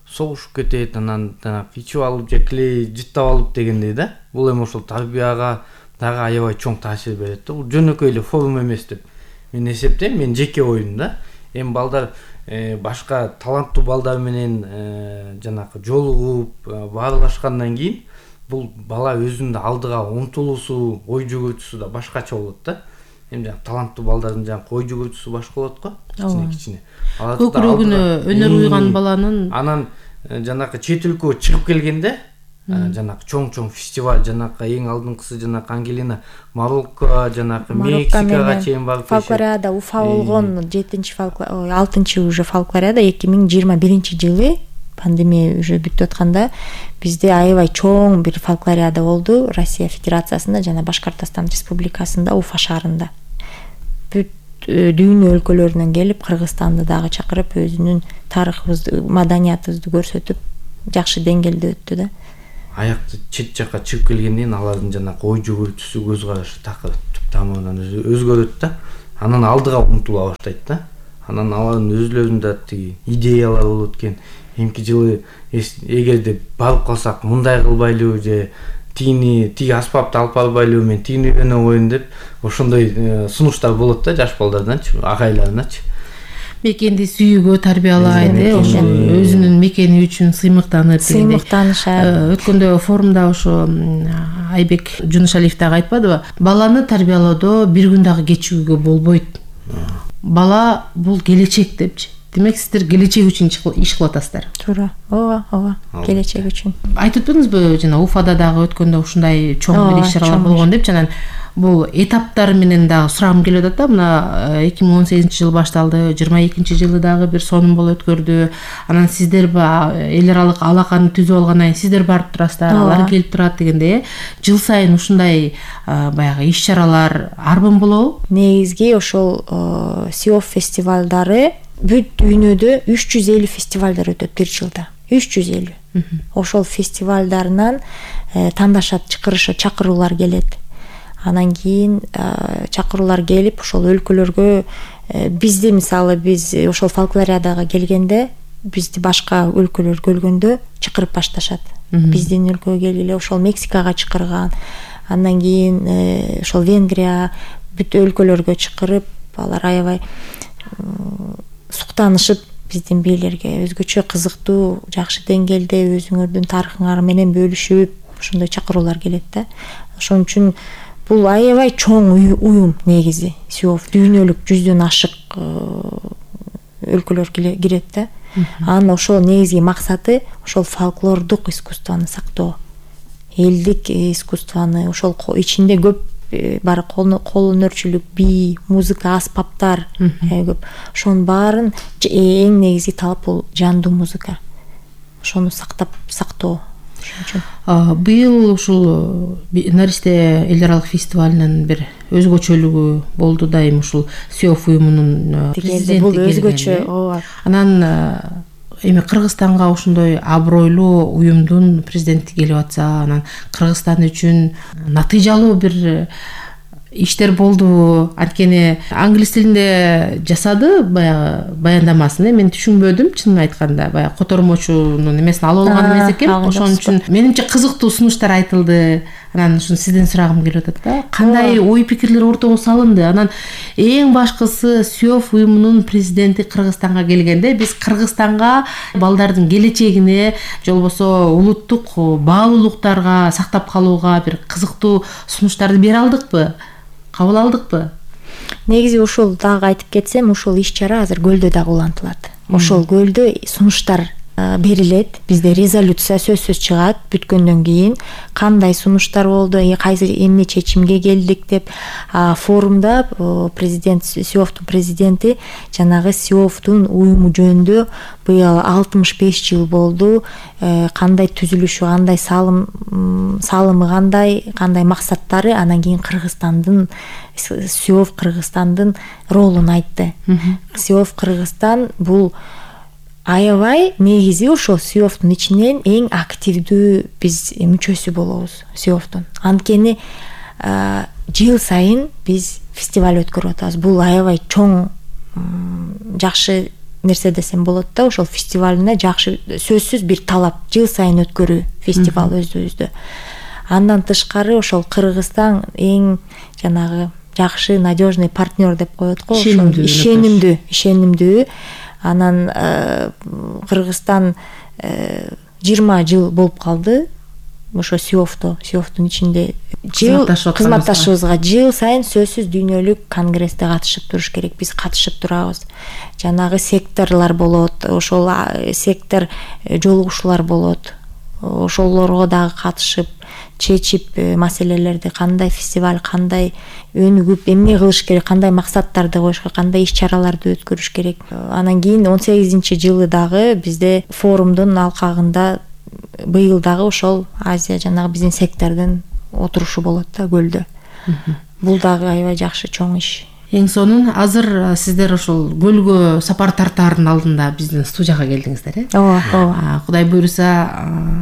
согушуп кетет, анан жанакы ичип алып же клей жыттап алып дегендей да. Бул эми ошол тарбияга дагы аябай чоң таасир берет да. Бул жөнөкөй эле форум эмес деп мен эсептейм, мен жеке оюм да. Эми балдар башка таланттуу балдар менен жанакы жолугуп баарлашкандан кийин бул бала өзүнүн алдыга умтулуусу, ой жүгүртүүсү да башкача болот да. Эми таланттуу балдардын жанакы ой жүгүртүүсү башка болот го, кичине. Көкүрөгүнө өнөр уйган баланын. Анан жанакы чет өлкөгө чыгып келгенде жанакы чоң фестиваль, жанакы эң алдыңкысы жанакы Ангелина Марокко, жанакы Мексикага чейин барып фолклориада Уфа болгон 6-уже фолклориада 2021 жылы пандемия уже бүтүп атканда бизде аябай чоң бир фолклориада болду Россия Федерациясында жана Башкортостон Республикасында, Уфа шаарында. Бүт дүйнө өлкөлөрүнөн келип, Кыргызстанды дагы чакырып, өзүнүн тарыхыбызды, маданиятыбызды көрсөтүп, жакшы деңгээлде өттү да. Аякты чет жакка чыгып келгенден кийин алардын жана ой жүгүртүүсү, көз карашы такыр түп тамырынан өзгөрөт да. Анан алдыга умтула баштайт да. Анан алардын өзүлөрүндө тиги идеялар болот экен. Эмки жылы эгерде барып калсак мындай кылбайлыбы же тиги аспапты алып барбайлыбы, мен тигини үйрөнө коеюн деп ошондой сунуштар болот да жаш балдарданчы, агайларыначы. Мекенди сүйүүгө тарбиялайт, ошо өзүнүн мекени үчүн сыймыктанышат. Өткөндө форумда ошо Айбек Жунушалиев дагы айтпадыбы? Баланы тарбиялоодо бир күн дагы кечигүүгө болбойт. Бала бул келечек депчи. Демек сиздер келечек үчүн иш кылып атасыздар. Туура. Ооба, келечек үчүн. Айтып өттүңүзбү, жана Уфада дагы өткөндө ушундай чоң бир иш-чаралар болгон деп, жана бул этаптар менен дагы сурагым келип атат да. Мына 2018-жылы башталды, 22-жылы дагы бир сонун болуп өткөрдү. Анан сиздер эл аралык алаканы түзүп алгандан кийин сиздер барып турасыздар, алар келип турат дегенде, жыл сайын ушундай баягы иш-чаралар арбын болобу? Негизги ошол СИОФ фестивалдары бүт дүйнөдө 350 фестивалдар өтөт бир жылда. 350. Ошол фестивалдарынан тандашат, чакыруулар келет. Анан кийин чакыруулар келип, ошол өлкөлөргө бизди, мисалы, биз ошол фолклориадага келгенде, бизди башка өлкөлөр көргөндө чакырып башташат. Биздин өлкөгө келгиле, ошол Мексикага чакырган. Андан кийин ошол Венгрия, бүт өлкөлөргө чакырып, алар аябай суктанышып, биздин бийлерге өзгөчө кызыктуу, жакшы деңгээлде өзүңөрдүн тарыхыңар менен бөлүшүп, ошондой чакыруулар келет да. Ошон үчүн бул аябай чоң уюм негизи. СИОФ дүйнөлүк 100дөн ашык өлкөлөр кирет да. Анын ошол негизги максаты ошол фольклордук искусствону сактоо. Элдик искусствону, ошол ичинде көп бар кол өнөрчүлүк, бий, музыка, аспаптар көп. Ошонун баарын эң негизги талап бул жандуу музыка. Ошону сактоо. Быйыл ушул Наристе эл аралык фестивалынын бир өзгөчөлүгү болду дайым, ушул СИОФ уюмунун президенти бул өзгөчө. Ооба. Анан эми Кыргызстанга ушундай абройлуу уюмдун президенти келип атса, анан Кыргызстан үчүн натыйжалуу бир иштер болду. Анткени англис тилинде жасады баягы баяндамасын. Мен түшүнбөдүм, чынын айтканда. Баягы котормочунун эмесин алып алган эмес экен. Ошон үчүн менимче кызыктуу сунуштар айтылды. Анан ушун сизден сурагым келип атат да. Кандай ой пикирлер ортого салынды? Анан эң башкысы СИОФ уюмунун президенти Кыргызстанга келгенде биз Кыргызстанга балдардын келечегине, же болбосо улуттук баалуулуктарга сактап калууга бир кызыктуу сунуштарды бере алдыкпы? Кабыл алдыкпы? Негизи ушул дагы айтып кетсем, ушул иш-чара азыр көлдө дагы улантылат. Ошол көлдө сунуштар берилет. Бизде резолюция сөзсүз чыгат бүткөндөн кийин кандай сунуштар болду, кайсы эмне чечимге келдик деп. Форумда президент, СИОФтун президенти жанагы СИОФтун уюму жөнүндө быйыл 65 жыл болду, кандай түзүлүшү, кандай салымы, кандай максаттары, анан кийин Кыргызстандын, СИОФ Кыргызстандын ролун айтты. СИОФ Кыргызстан бул аябай негизи ошол СИОФтун ичинен эң активдүү биз мүчөсү болобуз СИОФтун. Анткени жыл сайын биз фестиваль өткөрүп атабыз. Бул аябай чоң, жакшы нерсе десем болот да. Ошол фестивалына жакшы, сөзсүз бир талап, жыл сайын өткөрүү фестиваль өзүбүздө. Андан тышкары ошол Кыргызстан эң жанагы жакшы, надежный партнер деп коет го. Ишенимдүү. Анан Кыргызстан 20 жыл болуп калды ошо СИОФтун ичинде кызматташыбызга жыл сайын сөзсүз дүйнөлүк конгрессте катышып туруш керек. Биз катышып турабыз. Жанагы секторлор болот, ошол сектор жолугушуулар болот. Ошолорго дагы катышып, чечип маселелерди, кандай фестиваль, кандай өнүгүп эмне кылыш керек, кандай максаттарды коюш керек, кандай иш-чараларды өткөрүш керек. Анан кийин 18-жылы дагы бизде форумдун алкагында быйыл дагы ошол Азия жанагы биздин сектордун отурушу болот да көлдө. Бул дагы аябай жакшы чоң иш. Эң сонун азыр сиздер ошол көлгө сапар тартаардын алдында биздин студияга келдиңиздер, ооба. Кудай буйруса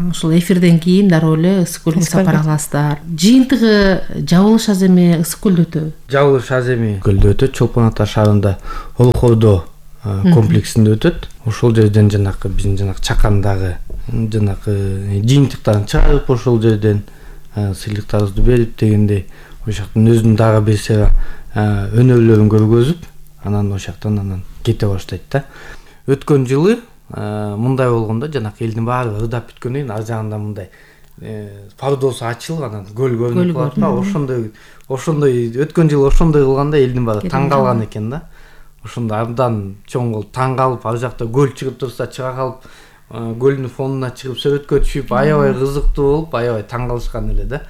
ушул эфирден кийин дароо эле Ысык көлгө сапар кыласыздар. Жыйынтыгы жабылыш аз эми Ысык көлдө өтөбү? Жабылыш аз эми көлдө өтөт, Чолпон Ата шаарында Олхордо комплексинде өтөт. Ошол жерден жанакы биздин жанакы чакандагы жанакы жыйынтыктарын чыгарып, ошол жерден сыйлыктарыбызды берип дегендей, ошоктон өзүнүн дагы бир өнөрлөрүн көргөзүп, анан ошоктон анан кете баштайт да. Өткөн жылы мындай болгондо жанакы элдин баары ырдап бүткөндөн кийин ар жагында мындай пардосу ачылып, анан көл көрүнүп калат да. Ошондой өткөн жылы ошондой кылганда элдин баары таң калган экен да. Ошондо абдан чоң болуп таң калып, ар жакта көл чыгып турса чыга калып, көлдүн фонуна чыгып сүрөткө түшүп, аябай кызыктуу болуп, аябай таң калышкан эле да.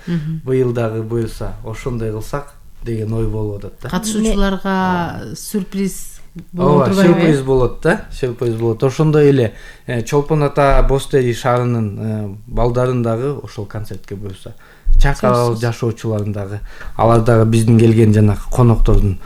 Быйыл дагы буюрса ошондой кылсак деген ой болуп атат да. Катышуучуларга сюрприз болот турбайбы? Сюрприз болот да, сюрприз болот. Ошондой эле Чолпон Ата Бостери шаарынын балдарын дагы ошол концертке буюрса чакырабыз, жашоочуларын дагы. Алар дагы биздин келген жанакы коноктордун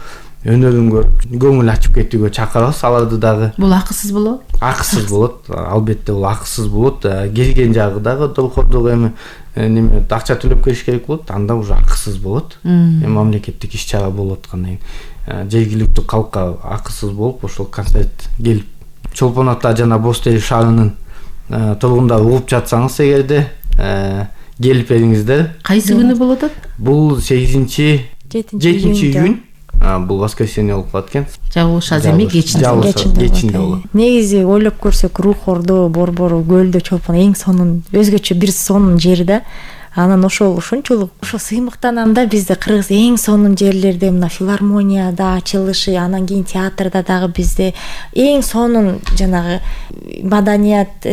өнөрүн көрүп, көңүл ачып кетүүгө чакырабыз. Аларды дагы. Бул акысыз болобу? Акысыз болот. Албетте бул акысыз болот. Келген жагы дагы долкордук эми неме акча төлөп келиш керек болот, анда уже акысыз болот. Мамлекеттик иш-чара болуп аткандан кийин жергиликтүү калкка акысыз болуп ошол концерт келип, Чолпон Ата жана Бостери шаарынын тургундары угуп жатсаңыз эгерде келип бериңиздер. Кайсы күнү болуп атат? Бул 8-7 июнь. Бул воскресенье болуп калат экен. Жабылыш аз эми кечинде болот. Негизи ойлоп көрсөк, Рухордо, Борбору, Көлдө, Чолпон эң сонун, өзгөчө бир сонун жери да. Анан ошончолук сыймыктанам да, бизде Кыргыз эң сонун жерлерде мына филармонияда ачылышы, анан кийин театрда дагы бизде эң сонун жанагы маданият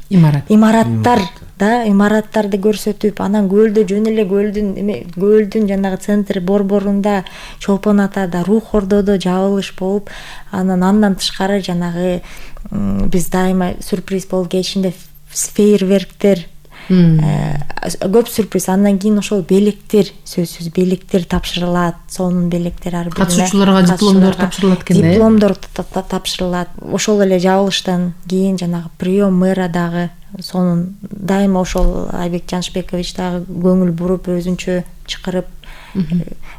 имараттар да, имараттарды көрсөтүп, анан көлдө жөн эле көлдүн жанагы центр Борборунда, Чолпон Атада, Рухордодо жабылыш болуп, андан тышкары жанагы биз дайыма сюрприз болуп кечинде фейерверктер, көп сюрприз. Андан кийин ошол белектер, сөзсүз белектер тапшырылат, сонун белектер ар бирине. Катышуучуларга дипломдор тапшырылат экен да. Дипломдор тапшырылат. Ошол эле жабылыштан кийин жанагы прием мэра дагы сонун, дайыма ошол Айбек Жанышбекович дагы көңүл буруп, өзүнчө чакырып,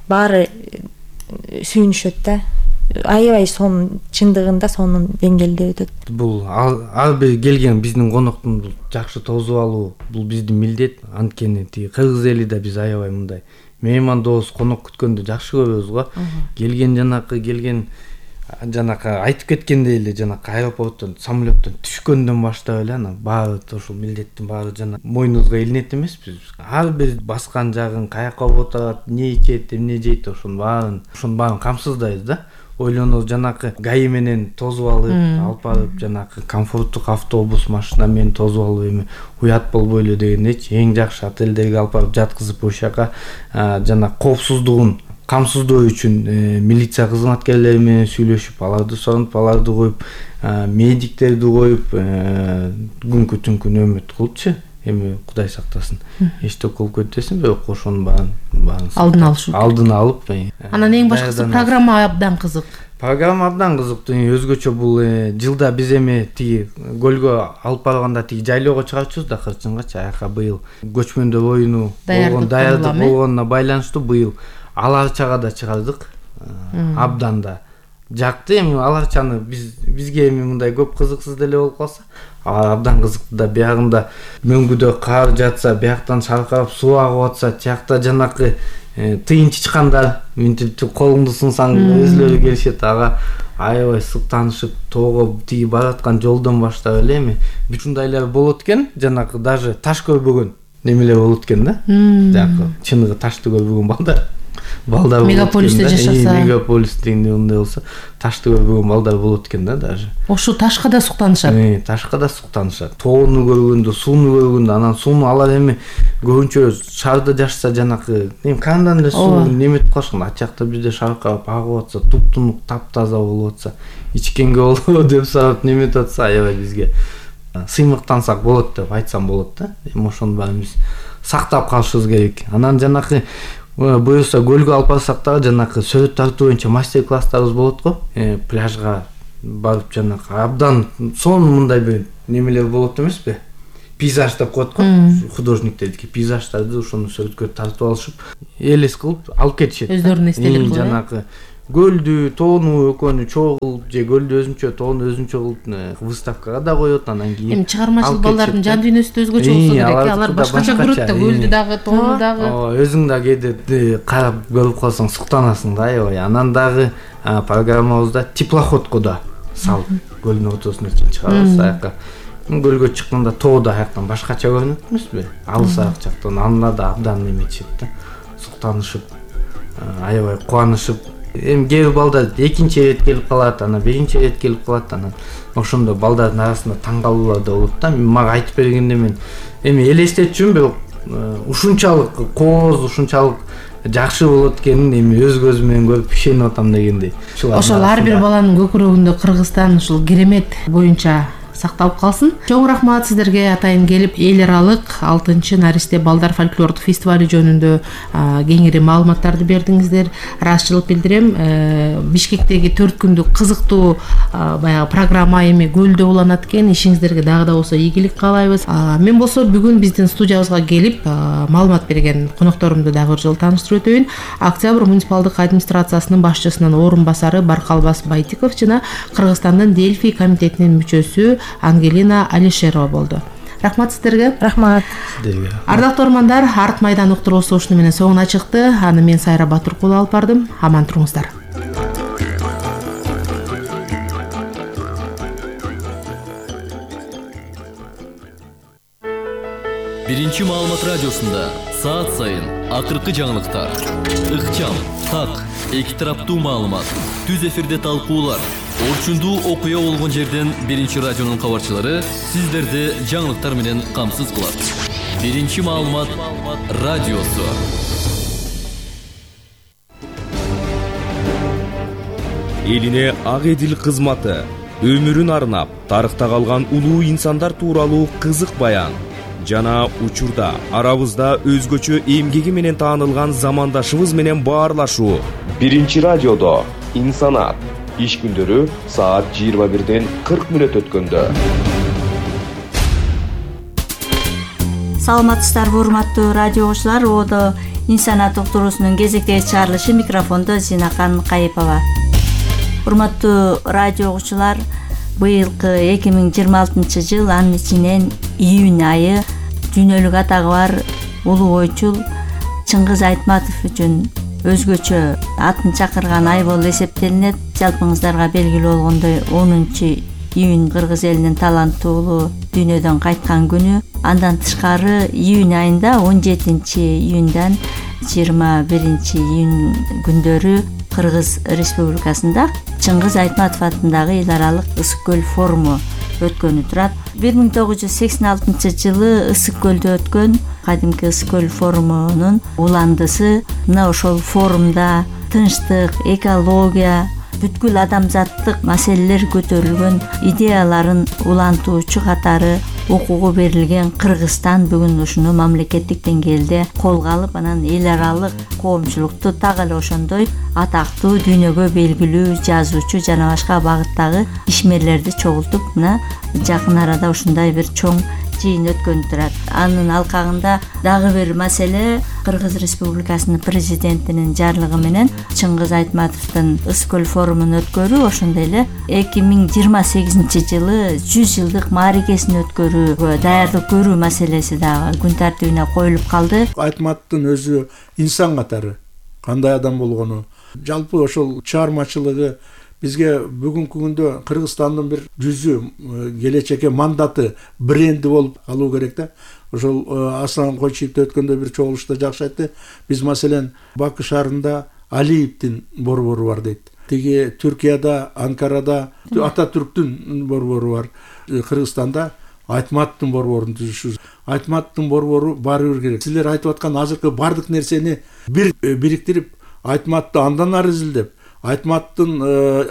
баары сүйүнүшөт да. Аябай сонун, чындыгында сонун деңгээлде өтөт. Бул ар бир келген биздин коноктун жакшы тосуп алуу, бул биздин милдет. Анткени Кыргыз эли да биз аябай мындай меймандоос, конок күткөндү жакшы көрөбүз го. Келген жанакы айтып кеткендей эле жанакы аэропорттон, самолеттон түшкөндөн баштап эле анан баары ошол милдеттин баары жана мойнубузга илинет эмеспиз. Ар бир баскан жагын, каяка отурат, эмне ичет, эмне жейт, ошонун баарын камсыздайбыз да. Ойлонобуз жанакы гаи менен тосуп алып барып, жанакы комфорттук автобус, машина менен тосуп алып эми уят болбой эле дегендейчи, эң жакшы отелдерге алып барып жаткызып, ошол жака жана коопсуздугун камсыздоо үчүн милиция кызматкерлери менен сүйлөшүп, аларды соронуп, аларды коюп, медиктерди коюп, күнгө түнкү нөөмөт кылыпчы. Эми Кудай сактасын, эчтек болуп кетесин, бирок ошонун баарын алдын алып. Анан эң башкысы программа абдан кызык. Программа абдан кызыктуу. Өзгөчө бул жылда биз эми тиги көлгө алып барганда тиги жайлоого чыгарчубуз да, Кырчынгачы. Аяка быйыл көчмөндөр оюну даярдык болгонуна байланыштуу быйыл Аларчага да чыгардык. Абдан да жакты. Эми Аларчаны бизге эми мындай көп кызыксыз деле болуп калса, абдан кызыктуу да. Биягында мөңгүдө кар жатса, бияктан шаркырап суу агып атса, тиякта жанакы тыйын чычкандар мынтип колуңду сунсаң өзлөрү келишет. Ага аябай сыктанышып, тоого тиги бараткан жолдон баштап эле эми ушундайлар болот экен. Жанакы даже таш көрбөгөн немелер болот экен да. Жанакы чыныгы ташты көрбөгөн балдар балдар мегаполисте жашаса, мегаполисте мындай болсо ташты көрбөгөн балдар болот экен да даже. Ошо ташка да суктанышат. Ташка да суктанышат. Тоону көргөндө, сууну көргөндө, анан сууну алар эми көбүнчө шаарда жашаса жанакы кандан эле суу неметип калышкан. Ат жакта бизде шаркап агып атса, туп-тунук, таптаза болуп атса, ичкенге болобу деп сурап неметип атса, аябай бизге сыймыктансак болот деп айтсам болот да. Эми ошону баарыбыз сактап калышыбыз керек. Анан жанакы буюрса көлгө алып барсак дагы жанакы сөзөт тартуу боюнча мастер-класстарыбыз болот го. Пляжга барып жанакы абдан сонун мындай бир немелер болот эмеспи? Пейзаж деп коет го. Художниктердики пейзаждарды ошону сөзөткө тартып алышып, элес кылып алып кетишет. Өздөрүнүн эстелик кылып. Жанакы көлдү, тоону экөөнү чогулуп, же көлдү өзүнчө, тоону өзүнчө кылып выставкага да коет, анан кийин. Эми чыгармачыл балдардын жан дүйнөсү да өзгөчө болсо керек. Алар башкача көрөт да, көлдү дагы, тоону дагы. Өзүң да кээде карап көрүп калсаң суктанасың да, аябай. Анан дагы программабызда теплоходко да салып көлдүн ортосуна чыгарабыз аяка. Көлгө чыкканда тоо да аяктан башкача көрүнөт эмеспи? Алысаак жактан анлар да абдан неметишет да. Суктанышып, аябай кубанышып. Эми кээ бир балдар экинчи рет келип калат, анан биринчи рет келип калат, анан ошондо балдардын арасында таң калуулар да болот да. Мага айтып бергенде мен эми элестетчүмүн, бирок ушунчалык кооз, ушунчалык жакшы болот экенин эми өз көзүм менен көрүп ишенип атам дегендей. Ошол ар бир баланын көкүрөгүндө Кыргызстан ушул керемет боюнча сакталып калсын. Чоң рахмат сиздерге атайын келип эл аралык 6-Наристе балдар фольклордук фестивали жөнүндө кеңири маалыматтарды бердиңиздер. Ыраазычылык билдирем. Бишкектеги 4 күндүк кызыктуу баягы программа эми көлдө уланат экен. Ишиңиздерге дагы да болсо ийгилик каалайбыз. Мен болсо бүгүн биздин студиябызга келип маалымат берген конокторумду дагы бир жолу тааныштырып өтөйүн. Октябрь муниципалдык администрациясынын башчысынын орун басары Баркалбас Байтиков жана Кыргызстандын Дельфий комитетинин мүчөсү Ангелина Алишерова болду. Рахмат сиздерге. Рахмат. Сиздерге. Ардактуу ормандар, Арт майдан уктуруусу ушуну менен соңуна чыкты. Аны мен Сайра Батыркулова алып бардым. Аман туруңуздар. Биринчи маалымат радиосунда саат сайын акыркы жаңылыктар, ыкчам, так, эки тараптуу маалымат, түз эфирде талкуулар, орчундуу окуя болгон жерден Биринчи радионун кабарчылары сиздерди жаңылыктар менен камсыз кылат. Биринчи маалымат радиосу. Элине ак эдил кызматы, өмүрүн арнап, тарыхта калган улуу инсандар тууралуу кызык баян жана учурда арабызда өзгөчө эмгеги менен таанылган замандашыбыз менен баарлашуу. Биринчи радиодо инсанат иш күндөрү саат 21:40 өткөндө. Саламатсыздарбы урматтуу радио окуучулар, одо инсанат уктуруусунун кезектеги чыгарылышы, микрофондо Зинакан Кайыпова. Урматтуу радио окуучулар, быйылкы 2026 жыл, анын ичинен июнь айы дүйнөлүк атагы бар улуу ойчул Чыңгыз Айтматов үчүн өзгөчө атын чакырган ай болуп эсептелинет. Жалпыңыздарга белгилүү болгондой 10 июнь кыргыз элинин таланттуулуу дүйнөдөн кайткан күнү. Андан тышкары июнь айында 17 июньдан 21 июнь күндөрү Кыргыз Республикасында Чыңгыз Айтматов атындагы эл аралык ысык көл форуму өткөнү турат. 1986 жылы ысык көлдө өткөн кадимки ысык көл форумунун уландысы мына ошол форумда тынчтык, экология, бүткүл адамзаттык маселелер көтөрүлгөн идеяларын улантуучу катары окууга берилген Кыргызстан бүгүн ушуну мамлекеттик деңгээлде колго алып, анан эл аралык коомчулукту так эле ошондой атактуу, дүйнөгө белгилүү жазуучу жана башка багыттагы ишмерлерди чогултуп, мына жакын арада ушундай бир чоң жыйын өткөнү турат. Анын алкагында дагы бир маселе Кыргыз Республикасынын президентинин жарлыгы менен Чыңгыз Айтматовдун ысык көл форумун өткөрүү, ошондой эле 2028 жылы 100 жылдык мааракесин өткөрүүгө даярдык көрүү маселеси дагы күн тартибине коюлуп калды. Айтматовдун өзү инсан катары кандай адам болгону, жалпы ошол чыгармачылыгы бизге бүгүнкү күндө Кыргызстандын бир жүзү, келечекке мандаты, бренди болуп алуу керек да. Ошол Аслан Койчиевде өткөндө бир чогулушта жакшы айтты. Биз маселен Бакы шаарында Алиевдин борбору бар дейт. Тиги Түркияда, Анкарада Ататүрктүн борбору бар. Кыргызстанда Айтматовдун борборун түзүшүбүз. Айтматовдун борбору барыбыр керек. Силер айтып аткан азыркы бардык нерсени бир бириктирип, Айтматовду андан ары изилдеп, Айтматовдун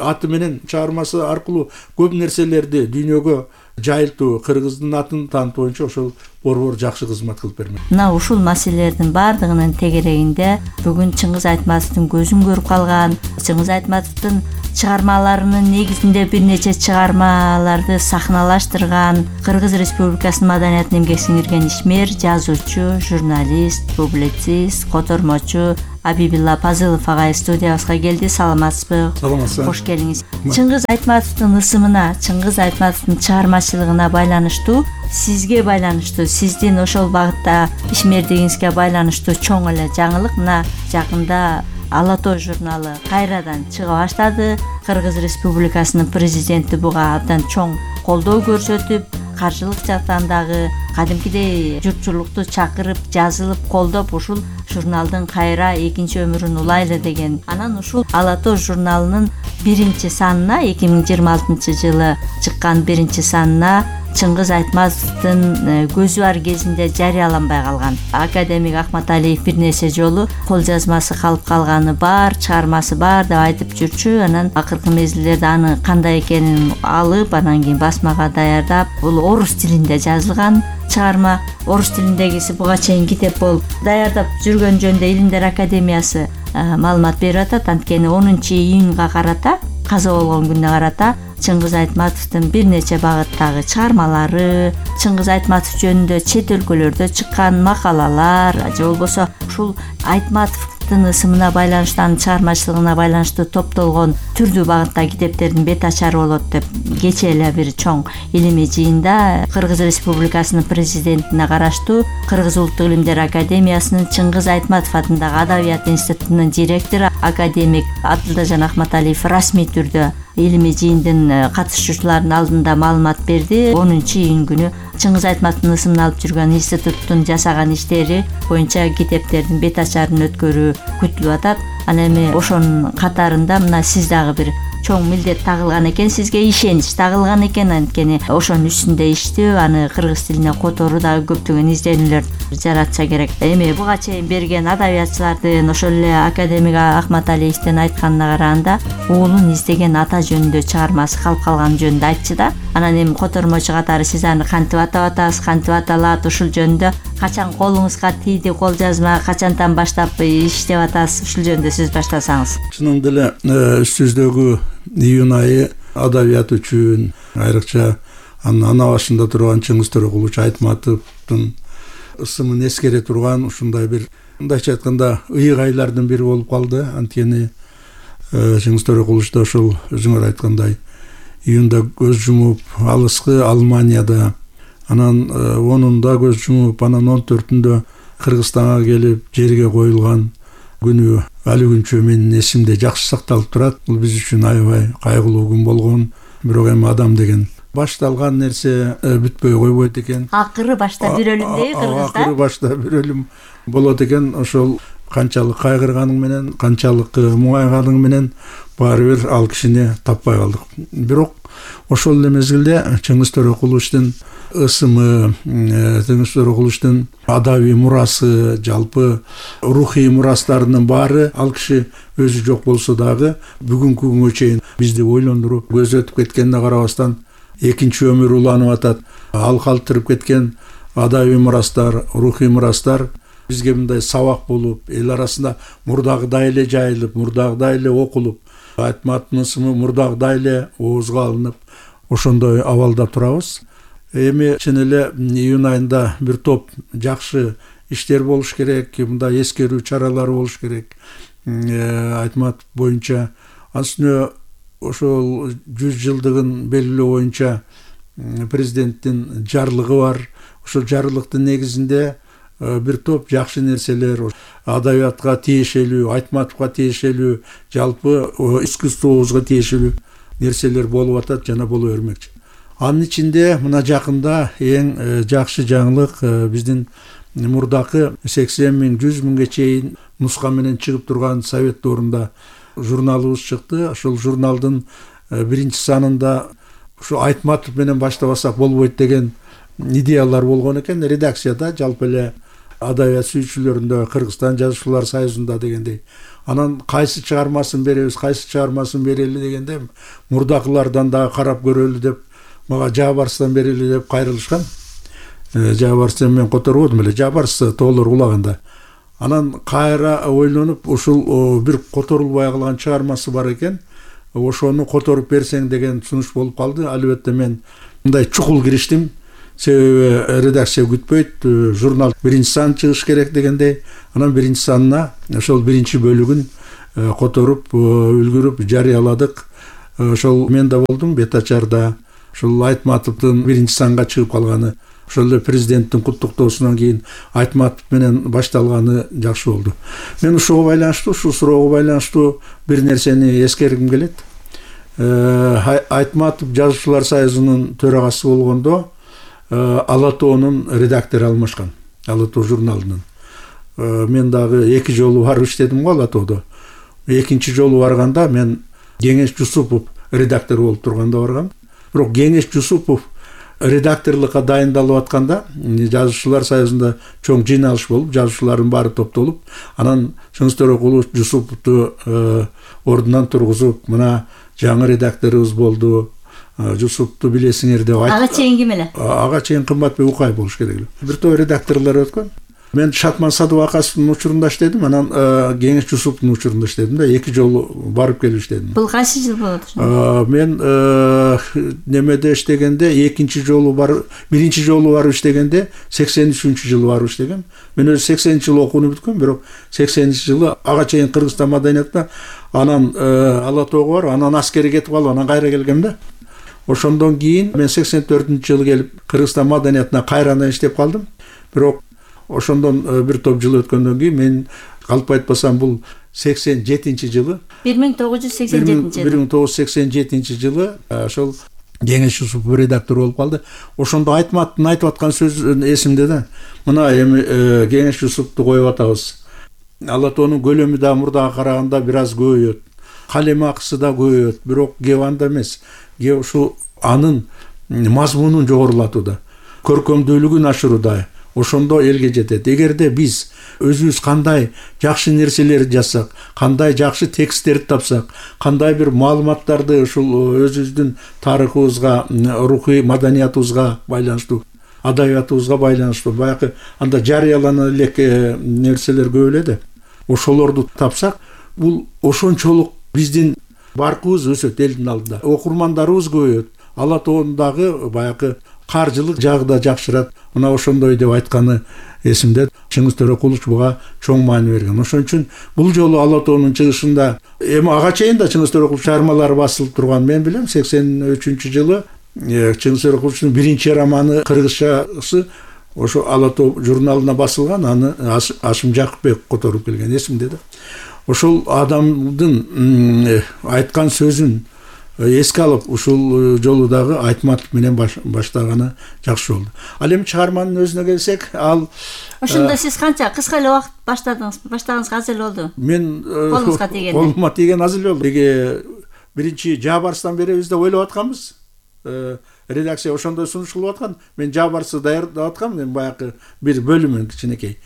аты менен чыгармасы аркылуу көп нерселерди дүйнөгө жайылтуу, кыргыздын атын таанытуу боюнча ошол борбор жакшы кызмат кылып бермек. Мына ушул маселелердин баардыгынын тегерегинде бүгүн Чыңгыз Айтматовдун көзүн көрүп калган, Чыңгыз Айтматовдун чыгармаларынын негизинде бир нече чыгармаларды сахналаштырган Кыргыз Республикасынын маданиятына эмгек сиңирген ишмер, жазуучу, журналист, публицист, котормочу Абибилла Пазылов агай студиябызга келди. Саламатсызбы? Саламатсызбы. Кош келиңиз. Чыңгыз Айтматовдун ысымына, Чыңгыз Айтматовдун чыгармачылыгына байланыштуу, сизге байланыштуу, сиздин ошол багытта ишмердигиңизге байланыштуу чоң эле жаңылык мына жакында Ала тоо журналы кайрадан чыга баштады. Кыргыз Республикасынын президенти буга абдан чоң колдоо көрсөтүп, каржылык жактан дагы кадимкидей журтчулукту чакырып, жазылып, колдоп ушул журналдын кайра экинчи өмүрүн улайлы деген. Анан ушул Ала тоо журналынын 1-санына 2026-жылы чыккан 1-санына Чыңгыз Айтматовдун көзү бар кезинде жарыяланбай калган академик Акматалиев бир нерсе жолу кол жазмасы калып калганы бар, чыгармасы бар деп айтып жүрчү. Анан акыркы мезгилдерде аны кандай экенин алып, анан кийин басмага даярдап, бул орус тилинде жазылган чыгарма. Орус тилиндегиси буга чейин китеп болуп даярдап жүргөн жөнүндө Илимдер Академиясы маалымат берип атат. Анткени 10-июнга карата, каза болгон күнүнө карата Чыңгыз Айтматовдун бир нече багыттагы чыгармалары, Чыңгыз Айтматов жөнүндө чет өлкөлөрдө чыккан макалалар, же болбосо ушул Айтматовдун ысымына байланыштуу, анын чыгармачылыгына байланыштуу топтолгон түрдүү багыттагы китептердин бет ачары болот деп кечээ эле бир чоң илимий жыйында Кыргыз Республикасынын президентине караштуу Кыргыз Улуттук Илимдер Академиясынын Чыңгыз Айтматов атындагы Адабият институтунун директору академик Абдылдажан Акматалиев расмий түрдө илимий жыйындын катышуучуларынын алдында маалымат берди. 10-июнь күнү Чыңгыз Айтматовдун ысымын алып жүргөн институттун жасаган иштери боюнча китептердин бет ачарын өткөрүү күтүлүп атат. Анан эми ошонун катарында мына сиз дагы бир чоң милдет тагылган экен, сизге ишенич тагылган экен. Анткени ошонун үстүндө иштөө, аны кыргыз тилине которуу дагы көптөгөн изденүүлөр жаратса керек. Эми буга чейин берген адабиятчылардын, ошол эле академик Акматалиевдин айтканына караганда, уулун издеген ата жөнүндө чыгармасы калып калган жөнүндө айтчу да. Анан эми котормочу катары сиз аны кантип атап атасыз, кантип аталат, ушул жөнүндө качан колуңузга тийди кол жазма, качантан баштап иштеп атасыз, ушул жөнүндө сөз баштасаңыз. Чынында эле үстүбүздөгү июнь айы адабият үчүн, айрыкча анын ана башында турган Чыңгыз Төрөкулович Айтматовдун ысымын эскере турган ушундай бир, мындайча айтканда, ыйык айлардын бири болуп калды. Анткени Чыңгыз Төрөкулович да ошол өзүңөр айткандай июнда көз жумуп, алыскы Алманияда, анан 10-унда көз жумуп, анан 14-үндө Кыргызстанга келип жерге коюлган күнү али күнчө менин эсимде жакшы сакталып турат. Бул биз үчүн аябай кайгылуу күн болгон. Бирок эми адам деген башталган нерсе бүтпөй койбойт экен. Акыры башта бир өлүм дейби Кыргызда. Акыры башта бир өлүм болот экен. Ошол канчалык кайгырганың менен, канчалык муңайганың менен баары бир ал кишини таппай калдык. Бирок ошол эле мезгилде Чыңгыз Төрөкуловичтин ысымы, Чыңгыз Төрөкуловичтин адабий мурасы, жалпы рухий мурастарынын баары ал киши өзү жок болсо дагы бүгүнкү күнгө чейин бизди ойлондуруп, көзөтүп кеткенине карабастан экинчи өмүр уланып атат. Ал калтырып кеткен адабий мурастар, рухий мурастар бизге мындай сабак болуп, эл арасында мурдагыдай эле жайылып, мурдагыдай эле окулуп, Айтматовдун ысымы мурдагыдай эле оозго алынып, ошондой абалда турабыз. Эми чын эле июнь айында бир топ жакшы иштер болуш керек, мындай эскерүү чаралары болуш керек. Айтматов боюнча асына ошол 100 жылдыгын белгилөө боюнча президенттин жарлыгы бар. Ошол жарлыктын негизинде бир топ жакшы нерселер, адабиятка тиешелүү, Айтматовго тиешелүү, жалпы искусствобузга тиешелүү нерселер болуп атат жана боло бермекчи. Анын ичинде мына жакында эң жакшы жаңылык биздин мурдакы 80 000 100 000ге чейин нуска менен чыгып турган совет доорунда журналыбыз чыкты. Ошол журналдын биринчи санында ушу Айтматов менен баштабасак болбойт деген идеялар болгон экен редакцияда, жалпы эле адабият сүйүүчүлөрүндө, Кыргызстан жазуучулар союзунда дегендей. Анан кайсы чыгармасын беребиз, кайсы чыгармасын берели дегенде мурдакылардан да карап көрөлү деп мага Жабарстан берели деп кайрылышкан. Жабарстан мен которбодум эле, Жабарс тоолор улаганда. Анан кайра ойлонуп ушул бир которулбай калган чыгармасы бар экен. Ошону которуп берсең деген сунуш болуп калды. Албетте мен мындай чукул кириштим. Себеби редакция күтпөйт, журнал биринчи сан чыгыш керек дегендей. Анан биринчи санына ошол биринчи бөлүгүн которуп үлгүрүп жарыяладык. Ошол мен да болдум Бетачарда. Ошол Айтматовдун биринчи санга чыгып калганы, ошол эле президенттин куттуктоосунан кийин Айтматов менен башталганы жакшы болду. Мен ушуга байланыштуу, ушул суроого байланыштуу бир нерсени эскергим келет. Айтматов жазуучулар союзунун төрагасы болгондо Ала тоонун редактору алмашкан, Ала тоо журналынын. Мен дагы 2 жолу барып иштедим го Ала тоодо. Экинчи жолу барганда мен Кеңеш Жусупов редактор болуп турганда баргам. Бирок Кеңеш Жусупов редакторлукка дайындалып атканда жазуучулар союзунда чоң жыйналыш болуп, жазуучулардын баары топтолуп, анан Чыңгыз Төрөкулов Жусуповду ордунан тургузуп, мына жаңы редакторубуз болду, Жусупту билесиңер деп айтып. Ага чейин ким эле? Ага чейин Кымбатбек Укаев болуш керек эле. Бир топ редакторлор өткөн. Мен Шатман Садыбакасовдун учурунда иштедим, анан Кеңеш Жусуповдун учурунда иштедим да, 2 жолу барып келип иштедим. Бул кайсы жыл болот? Мен немеде иштегенде экинчи жолу барып, биринчи жолу барып иштегенде 83-жылы барып иштегем. Мен өзү 80-жылы окууну бүткөм, бирок 80-жылы ага чейин Кыргызстан маданиятында, анан Ала тоого барып, анан аскерге кетип калып, анан кайра келгем да. Ошондон кийин мен 84-жылы келип Кыргызстан маданиятына кайрадан иштеп калдым. Бирок ошондон бир топ жыл өткөндөн кийин мен калп айтпасам бул 87-жылы 1987 жылы ошол Кеңеш Жусупов редактор болуп калды. Ошондо Айтматтын айтып аткан сөзү эсимде да. Мына эми Кеңеш Жусуповду коюп атабыз. Ала тоонун көлөмү да мурдага караганда бир аз көбөйөт. Калем акысы да көбөйөт, бирок кеп анда эмес. Кеп ушу анын мазмунун жогорулатууда, көркөмдүүлүгүн ашырууда. Ошондо элге жетет. Эгерде биз өзүбүз кандай жакшы нерселерди жазсак, кандай жакшы тексттерди тапсак, кандай бир маалыматтарды ушул өзүбүздүн тарыхыбызга, рухий маданиятыбызга байланыштуу, адабиятыбызга байланыштуу баягы анда жарыялана элек нерселер көп эле да. Ошолорду тапсак, бул ошончолук биздин баркыбыз өсөт элдин алдында. Окурмандарыбыз көбөйөт. Ала тоондагы баягы каржылык жагы да жакшырат. Мына ошондой деп айтканы эсимде. Чыңгыз Төрөкулов буга чоң маани берген. Ошон үчүн бул жолу Ала тоонун чыгышында эми ага чейин да Чыңгыз Төрөкулов чыгармалары басылып турган. Мен билем 83-жылы Чыңгыз Төрөкуловдун биринчи романы кыргызчасы ошо Ала тоо журналына басылган. Аны Ашым Жакыпбек которуп келген эсимде да. Ошол адамдын айткан сөзүн эске алып, ушул жолу дагы Айтматов менен баштаганы жакшы болду. Ал эми чыгарманын өзүнө келсек, ал ошондо сиз канча кыска эле убакыт баштаганыңызга аз эле болду? Мен колуңузга тийгенде. Колума тийген аз эле болду. Эге биринчи Жабарстан беребиз деп ойлоп атканбыз. Редакция ошондой сунуш кылып аткан. Мен Жабарсы даярдап аткам, мен баягы бир бөлүмүн кичинекей.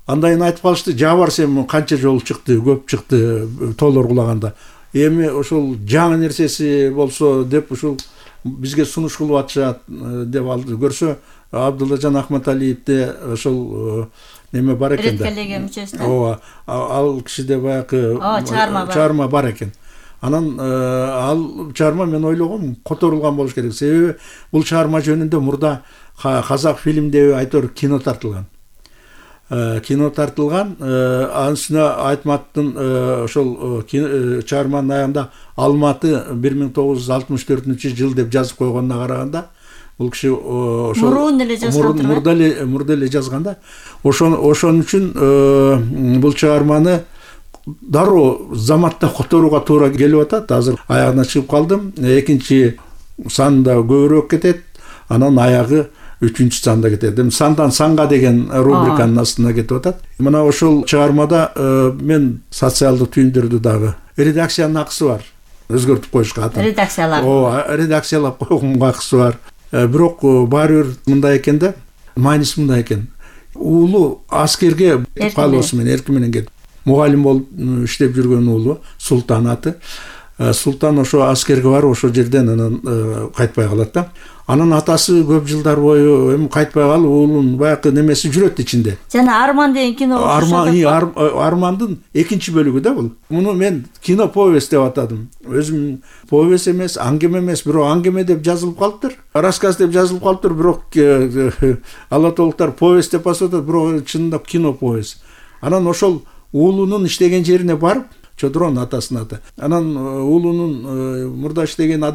Андайын айтып калышты, Жабарс эми канча жолу чыкты, көп чыкты, тоолор кулаганда. Эми ошол жаңы нерсеси болсо деп ушул бизге сунуш кылып атышат деп алды. Көрсө Абдуллажан Ахматалиевде ошол неме бар экен да. Редколлегия мүчөсү. Ооба, ал кишиде баягы чыгарма бар экен. Анан ал чыгарма мен ойлогом которулган болуш керек. Себеби бул чыгарма жөнүндө мурда казак фильмдеби айтор кино тартылган. Анын үстүнө Айтматтын ошол чыгарманын аягында Алматы 1964-жыл деп жазып койгонуна караганда, бул киши ошол мурда эле жазган да. Ошон үчүн бул чыгарманы дароо заматта которууга туура келип атат. Азыр аягына чыгып калдым. Экинчи санда көбүрөөк кетет. Анан аягы 3 санда кетет. Сандан санга деген рубриканын астына кетип атат. Мына ошол чыгармада мен социалдык түйүндөрдү дагы редакциянын акысы бар. Өзгөртүп коюшка атын. Редакциялап койгонго акысы бар. Бирок баары бир мындай экен да, майнис мындай экен. Уулу аскерге калыбысы менен эрки менен кетип, мугалим болуп иштеп жүргөн уулу Султан аты. Султан ошо аскерге барып ошол жерден анан кайтпай калат да. Анын атасы көп жылдар бою эми кайтпай калып, уулунун баягы немеси жүрөт ичинде. Жана Арман деген кино. Армандын экинчи бөлүгү да бул. Муну мен кино повесть деп атадым. Өзүм повесть эмес, аңгеме эмес, бирок аңгеме деп жазылып калыптыр. Рассказ деп жазылып калыптыр, бирок алатолуктар повесть деп атат, бирок чынында кино повесть. Анан ошол уулунун иштеген жерине барып, Чодронун атасынын аты. Анан уулунун мурда иштеген